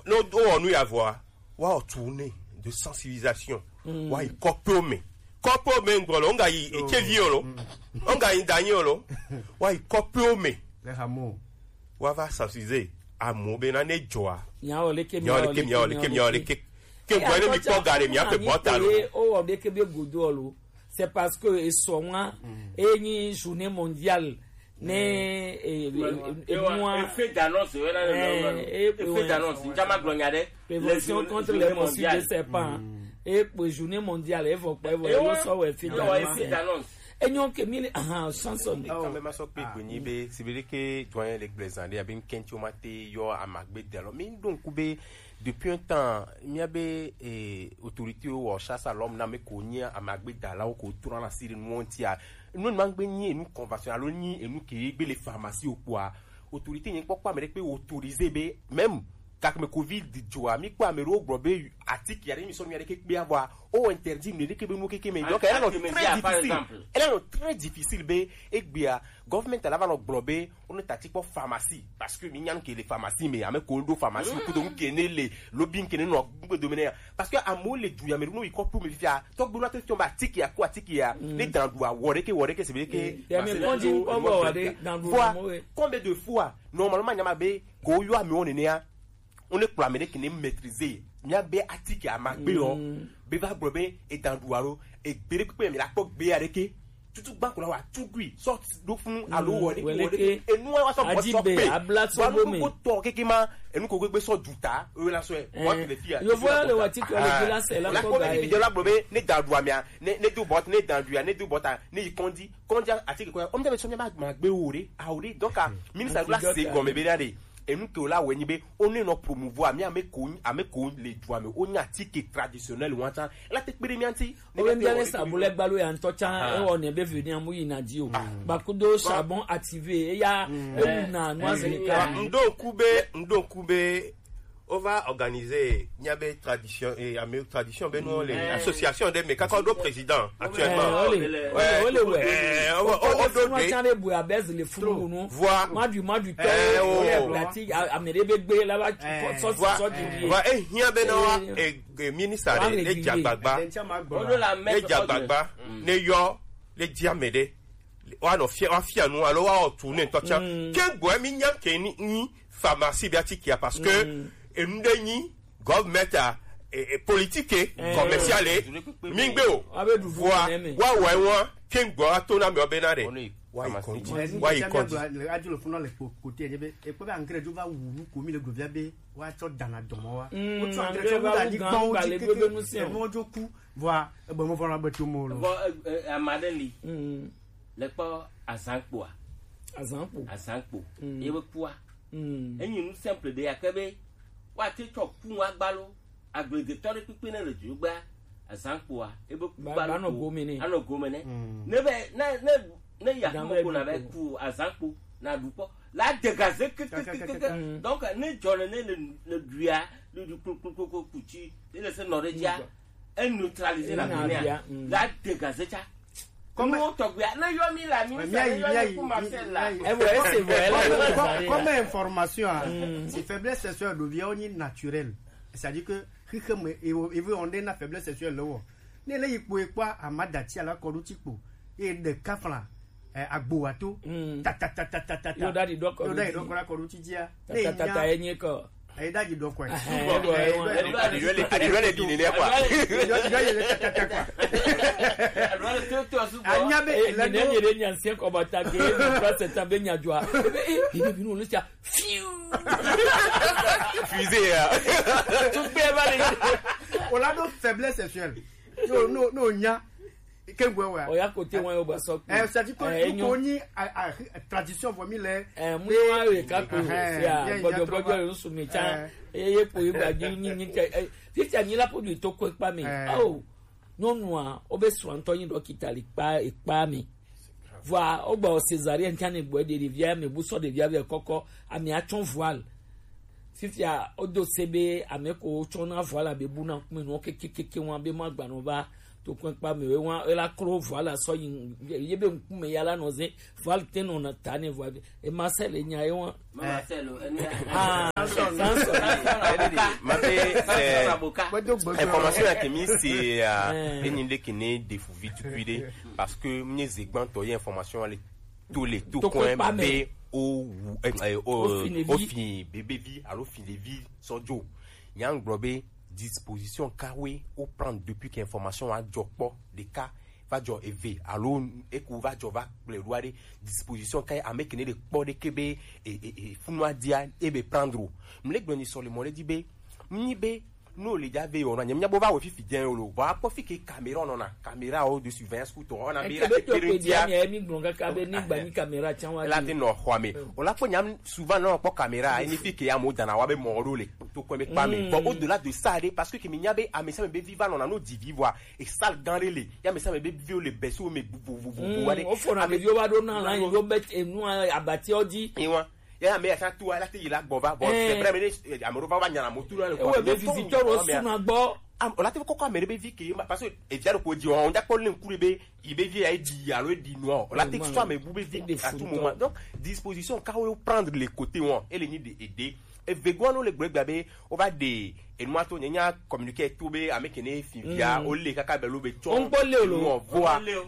No, on nous y avoir. Wa o tourner de sensibilisation. Wa i kɔpe o me. Kɔpe o me ngolo, on ga yi, e ke vi o lo. On ga yi danyi o lo. Wa i kɔpe o me. Les hameaux. Wa va sensibiliser. Amewo be na ne dzɔa. Miawɔ leke, miawɔ leke, miawɔ leke, miawɔ leke. Ke gbɔ ne mi kpɔ ga ɖe mia ƒe bɔta lo. O wɔ ɖeke be godo lo. C'est parce que esɔ ŋua, enyi journée mondiale ne e e e nua. Effet d'annonce, ouais, là, là, là, là. Eh, eh, effet d'annonce. Njama gblɔ nya ɖe. Prévention contre les morsures de serpent. Et pour journée mondiale, il faut pas, il faut sɔ effet d'annonce. Enyo ke mi le, ah, chanson. Quand même, ma sɔ pe gbe nyi be, si be ke doyen le gblezan de, abi nkenti o ma te yɔ amagbe de lo. Mi donc be, depuis un temps, mi a be, eh, autorité o, chasse à l'homme na me ko nyi amagbe da la o ko tura na siri nu onti a. Nu ma gbe nyi enu convention alo nyi enu ke gbe le pharmacie o kpoa. Autorité nyi kpɔkpɔ ame ɖe kpe autorisé be, même gake me covid dzɔa, mi kpɔ ame ɖewo gblɔ be atike aɖe mi sɔ mi aɖeke kpea vɔa, o interdit nu ɖeke be nu keke me. Donc, elle est très difficile. Elle est très difficile be egbea, government la va nɔ gblɔ be, o ne tati kpɔ pharmacie, parce que mi nya nu ke le pharmacie me, ame ko ɖo pharmacie, kudo nu ke ne le, lobi nu ke ne nɔ gbe do me ne ya. Parce que amewo le du ya me ɖo no yi kɔ plu me fifia, tɔgbe la to fiɔ be atike ya ko atike ya, ne dan du awɔ ɖeke, wɔ ɖeke, se be ɖeke. Ya me kɔndi kɔ bɔ wa ɖe, dan du mo we. Combien de fois, normalement, nyama be, ko yɔ amewo nenea, o ne kplɔ ame ɖe ke ne maîtriser. Mia be atike amagbe lɔ, be va gblɔ be edan ɖu alo egbe ɖe kpekpe mi la kpɔ gbe aɖeke. Tutu gba ko la wa tu gui, sɔ ɖo funu alo wɔ ɖeke, wɔ ɖeke. Enu wa sɔ bɔ sɔ pe. Wa nu ko tɔ keke ma, enu ko gbegbe sɔ du ta, o la sɔ e. Wa ke le fia. Yo vo le wa ti ko le bi la se la ko ga. La ko be la gblɔ be ne dan ɖu amia, ne, ne do bɔt, ne dan ɖu ya, ne do bɔt a, ne yi kɔndi, kɔndi atike ko ya. O mi da be sɔ mi ma gbe wo ɖe, a wo ɖe. Donc, a, ministre la se gɔme be da ɖe. Enu ke wo la wɛ nyi be, o ne nɔ promouvoir, mi ame ko, ame ko le du ame, o nya atike traditionnel wa ta. La te kpe ɖe mi anti. O be mi ne sa bulɛ gbalo ya ŋutɔ tsa, e wɔ ne be veni amu yi na di o. Ba kudo charbon activé, e ya, e wu na, noix de cacao. Ndo ku be, ndo ku be, o va organiser, nya be tradition, e, ame tradition be no le, association de me, kaka do président, actuellement. Ole, ole, ole, ole. Eh, o, o, o, o, do de. Tsa be bu abez le funu nu. Voilà. Madu, madu, eh, o. Ole, blati, a, ame ɖe be gbe la va, eh, sɔ, sɔ, voilà, sɔ di. Voilà, eh, hiã be na wa, eh, eh, ministre ɖe, ne dze agbagba. Ne dze agbagba, ne yɔ, ne dze ame ɖe. Wa nɔ fia, wa fia nu, alo wa wɔ tu ne ŋutɔ tsã. Ke gbɔ mi nya ke ni, ni pharmacie be atike ya, parce que enu ɖe nyi government a, e, e, politique, commerciale, mi gbe o. Wa be ɖu vua, ɖu wa wɔ wa, ke gbɔ wa to na mi o be na ɖe. Wa yi kɔdzi, wa yi kɔdzi. Le adu le funu le ko-, kote ye be, e ko be engrais jo va wu ko mi le glovia be, wa tsɔ dana dɔmɔ wa. O tsɔ engrais jo va wu da ni gbɔn o ji keke, e mo jo ku, vua, e be mo vɔ na be to mo lo. Vɔ, e, e, ama ɖe li. Le kpɔ azãkpoa. Azãkpo. Azãkpo. Ye be kua. Enyi nu simple ɖe ya ke be, wa te tsɔ ku wa gbalo. Agbledetɔ ɖe kpekpe ne le dzogbea, azãkpoa, ebe ku ba, ba nɔ gome nɛ. Anɔ gome nɛ. Ne be, ne, ne, ne ya ku ko na be ku azãkpo, na ɖu kpɔ. La dégager ke, ke, ke, ke, ke. Donc, ne dzɔ ne, ne le, le ɖuia, le ɖu klo, klo, klo, klo, kutsi, ne le se nɔ ɖe dzia, e neutraliser la gomea. La dégager tsa. Comment? Nuwo tɔgbe, ne yɔ mi la, mi sa, ne yɔ mi ku Marcel la. Eh, ouais, c'est vrai, là, comme, comme, comme information, hein, si faiblesse sexuelle devient on naturel, c'est-à-dire que, xixeme, et, et on est dans faiblesse sexuelle, là, ne le yikpo ekpo amada ti ala kɔɖu ti kpo, e de kafla, eh, agbo wa to, ta, ta, ta, ta, ta, ta, ta. Yo da di dɔkɔ, yo da di dɔkɔ la kɔɖu ti dia. Ta, ta, ta, ta, enye kɔ. Eyi ɖe adzi ɖɔ kɔe. Aɖiɖɔ le, aɖiɖɔ le ɖi nene kɔa. Aɖiɖɔ le tɛtɛtɛ kɔa. Anya be le ne nye ɖe nya sia kɔ ba ta ke, e ba se ta be nya dzɔa. Ebe, e, bi bi no le sia. Fiu. Fusée ya. Tu peux pas le. O la do faiblesse sexuelle. No, no, no, nya. Ke gbe wa. Oya kote wan yo ba sɔ kpe. Eh, c'est-à-dire que eh, nous connaissons la tradition vomi le. Eh, mu wa re ka ko. Eh, ya gbɔdɔ gbɔdɔ yo su mi cha. Eh, ye po ye ba di ni ni cha. Titi anyi la po du to ko pa mi. Oh. Nyɔnua, wobe srɔ̃tɔ nyi ɖɔkita le kpa ekpa me. Vɔa wogba wɔ césarienne tsã ne gbɔ ɖe ɖevia me bu sɔ ɖevia vɛ kɔkɔ ame atsɔ voile. Fifia wodo se be ame ko wotsɔna voile be buna ŋkume nɔ kekekeke wa be magbanɔ va tokpɛkpa me wa ela klo voile sɔ yi ye be ŋkume ya la nɔ ze voile te nɔ na ta ne voile e ma se le nya ye wa. Mama Selo, enu ya. Ah, Samson. Samson. Mabe, eh, information ya ke mi se, ah, enyi de ke ne defu vi tukui de, parce que mi ze gbantɔ ye information ale to le to coin be o wu, eh, eh, o fin bebe vi alo fin de vi sɔjo. Nya gblɔ be disposition kawe o prendre depuis que information a jɔ kpɔ de ka va jɔ eve alo eku va jɔ va kplɔe ɖo aɖe disposition ka ame kene ɖe kpɔ ɖe ke be e e e funu adia e be prendre o. Mle gblɔ ni sɔ le mɔ ɖe di be nyi be no le ja ve yɔ na nyemnya bo va wo fifi dze o lo va kpɔ fi ke caméra nɔ na caméra o de surveillance ku tɔ na be la ke be dia mi mi gblɔ kaka be ni gba ni caméra tsan wa la te nɔ xɔ me o la kpɔ nyam souvent nɔ kpɔ caméra e ni fi ke ya mo dana wa be mɔ ɖo le to kɔ me kpa me bon au delà de ça de parce que ke mi nya be ame sa me be viva nɔ na no di vivre et sale gan le ya me sa me be vieux le beso me bu bu bu bu bu wa de o fo na me yo ba do na la yo be enu abati odi e wa ya me ya sa tu ala te yi la gbɔ va bon c'est vrai mais ame ro va va nya na mo tu la le ko be visiteur o su na gbɔ o la te kɔkɔ ame be vi ke parce que e via ko di on ja ko le nkure be i be vi ya di ya lo di no o la te so ame bu be vi à tout moment donc disposition ka o prendre le côté on et le ni de aider e vegoano le gbegba be o va de enu ato nyanya communiquer to be ame kene fi via o le kaka be lo be cho o n gbɔ le o lo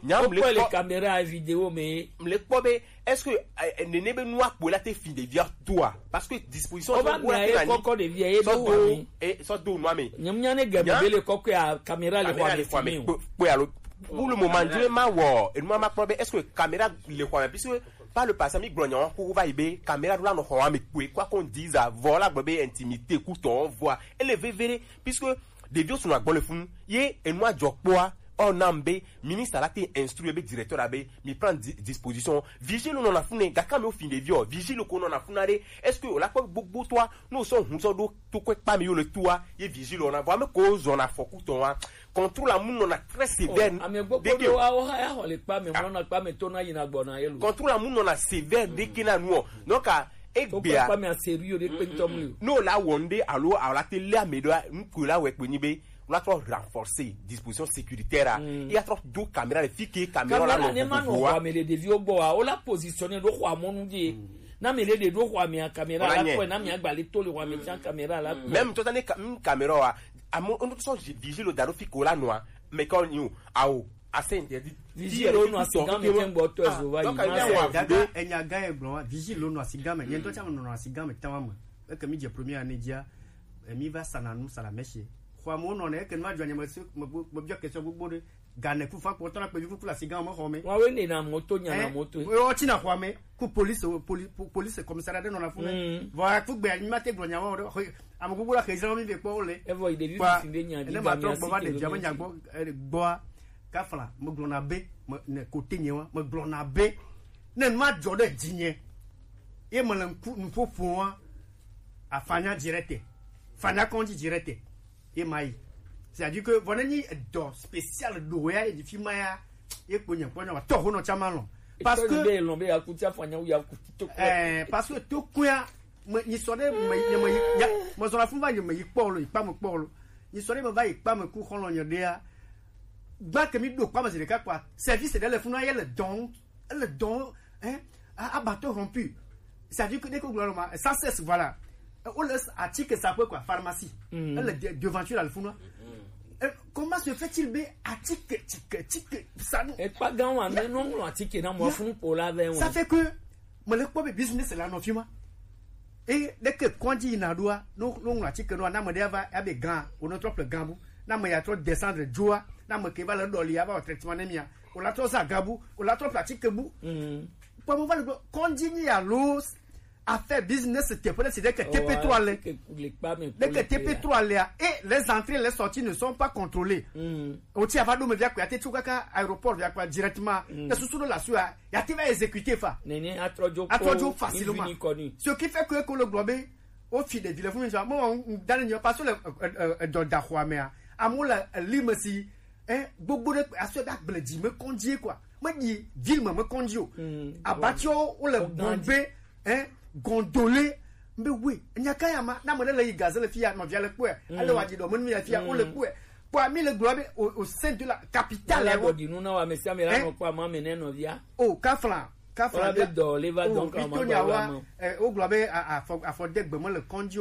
nya o mle kpɔ le caméra vidéo me mle kpɔ be est-ce que nene be nu akpo la te fi de via toi parce que disposition o ba mi aye kɔkɔ de via ye do wa mi e so do nu ame nyam nya ne ga be le kɔkɔ ya caméra le kwa me fi mi o kpe alo pour le moment je ma wo enu ma kpɔ be est-ce que caméra le kwa me puisque par le passé mi gblɔ nya ko va yi be caméra do la no xɔ ame kpe quoi qu'on dise avant la gblɔ be intimité ku tɔ voix et le vevere puisque ɖeviwo sunɔ agbɔ le funu ye enua dzɔ kpɔa ɔ nam be ministre la te instruire be directeur la be mi prend disposition vigile nɔ na funu gake mi o fin ɖeviwo vigile ko nɔ na funu aɖe est-ce que o la kpɔ gbogbo toa n'o sɔ hun sɔ ɖo to kɔ kpa mi yo le toa ye vigile o na vɔ ame ko zɔ na fɔku tɔn wa contrôle amu nɔ na très sévère ame gbogbo ɖo wa o ha ya xɔ le kpa mi mɔ na kpa mi to na yi na gbɔ na ye lo contrôle amu nɔ na sévère ɖe ke na nuɔ nɔ ka egbea kpamia sérieux ɖe kpe ŋutɔ mli o. N'o la wɔ ŋɖe alo alo la te lé ame ɖo ŋku la wɛ kpe nyi be la trɔ renforcer disposition sécuritaire a ya trɔ do caméra le fi ke caméra la nɔ ne ma nɔ vovovoa xɔ ame le ɖeviwo gbɔ wa o la positionner ɖo xɔ amɔnu dzi na me le ɖe ɖo xɔ amea caméra la kɔe na mia gba le to le xɔ ame tiã caméra la kɔe. Même tɔta ne caméra wa amo ŋutɔ sɔ vigile da ɖo fi ke o la nɔa mais quand you awo Assez interdit. Vigile wo nɔ asigan me tɛn gbɔ tɔ ezo va yi. Donc, il y a un gaga, enya gã ye gblɔ wa. Vigile wo nɔ asigan me. Yɛn tɔ tsa me nɔ asigan me tɛn wa me. Eke mi dze premier année dzia, emi va sana nu sana mɛsi. Xɔ amewo nɔ ne eke nu adzɔ nye me se me gbo me biɔ question gbogbo ɖe. Gane ku fa kpɔ tɔ na kpevi kuku le asigan me xɔ me. Wa wo ne na moto nya na moto. Wo tsi na xɔ me ku police police commissariat ɖe nɔ na fu ne. Vɔ ku gbe anyi ma te gblɔ nya wo ɖe. Ame gbogbo la xe zan mi be kpɔ wo le. Evɔ yi ɖevi fifi be nya di ga mi asi ke do mi asi. Gbɔa kafla megblɔna be me ne kote nye wa megblɔna be ne nu adzɔ ɖe dzinye ye mele ŋku nuƒo ƒom wa afanya dzi ɖe te fanya kɔndzi dzi ɖe te ye ma yi c'est-à-dire que vɔ ne nyi edɔ spécial ɖo ya yi fi ma ya ye kpo nye kpɔ nya wa tɔ ho nɔ tsa ma lɔ parce que be lɔ be ya kuti afanya ya kuti to eh parce que to kuya me nyi sɔ ɖe me nye me yi ya me zɔ la fun va nye me yi kpɔ lo yi kpa me kpɔ lo nyi sɔ ɖe me va yi kpa me ku xɔlɔ nye ɖea gba ke mi ɖo kpa me zi ɖeka kpa service ɖe le fun na ye le dɔn ele dɔn hein abatɔ rompu c'est-à-dire que dès que gblɔ ma sans cesse voilà o le atike sa quoi pharmacie elle est devanture al fun na comment se fait-il be atike tike tike sanu ekpa gan wa me no ŋlɔ atike na mo fun po la ve ça fait que mele kpɔ be business la nɔ fi ma eye ɖeke kɔdzi yina ɖoa no no ŋlɔ atike nɔa na ame ɖe ava abe gan wonɔ trɔ ple gan bu na ame ya trɔ descendre dzoa na ame ke va le ɖɔli ava wɔ traitement ne mia o la trɔ za gan bu o la trɔ ple atike bu kpɔmɔ va le gblɔ kɔdzi nyi alo Affaire business teƒe ɖe si ɖe ke T P trois le. Ɖe ke T P trois lea, et les entrées, les sorties ne sont pas contrôlées. O ti ava ɖo me via ko, ate tso kaka aéroport via ko directement. Ne susu ɖo la sua, ya te va exécuter fa. Nene atrɔdzo. Atrɔdzo facilement. Ce qui fait que ko le globe, o fi de vile fun mi sa. Mo dan ni parce que le do da khwa me a. Amu la lime si, eh, gbogbo ɖe asɔ ɖe agble dzi me kɔndzi quoi. Me di ville me me kɔndzi o. Abatiwo wo le Bombay, eh, Gondolé. Mbe we, nya ka ya ma, na me le yi gaze le fia, nɔvia le kpɔe. Ale wa di do me nu ya fia, wo le kpɔe. Kpɔa mi le gblɔ be au sein de la capitale. Ala dɔ di nu na wa me sia me la nɔ kpɔa ma me ne nɔvia. O kafla, kafla be dɔ le va donc ma dɔ la. Eh, wo gblɔ be afɔ afɔ de gbe me le kɔndzi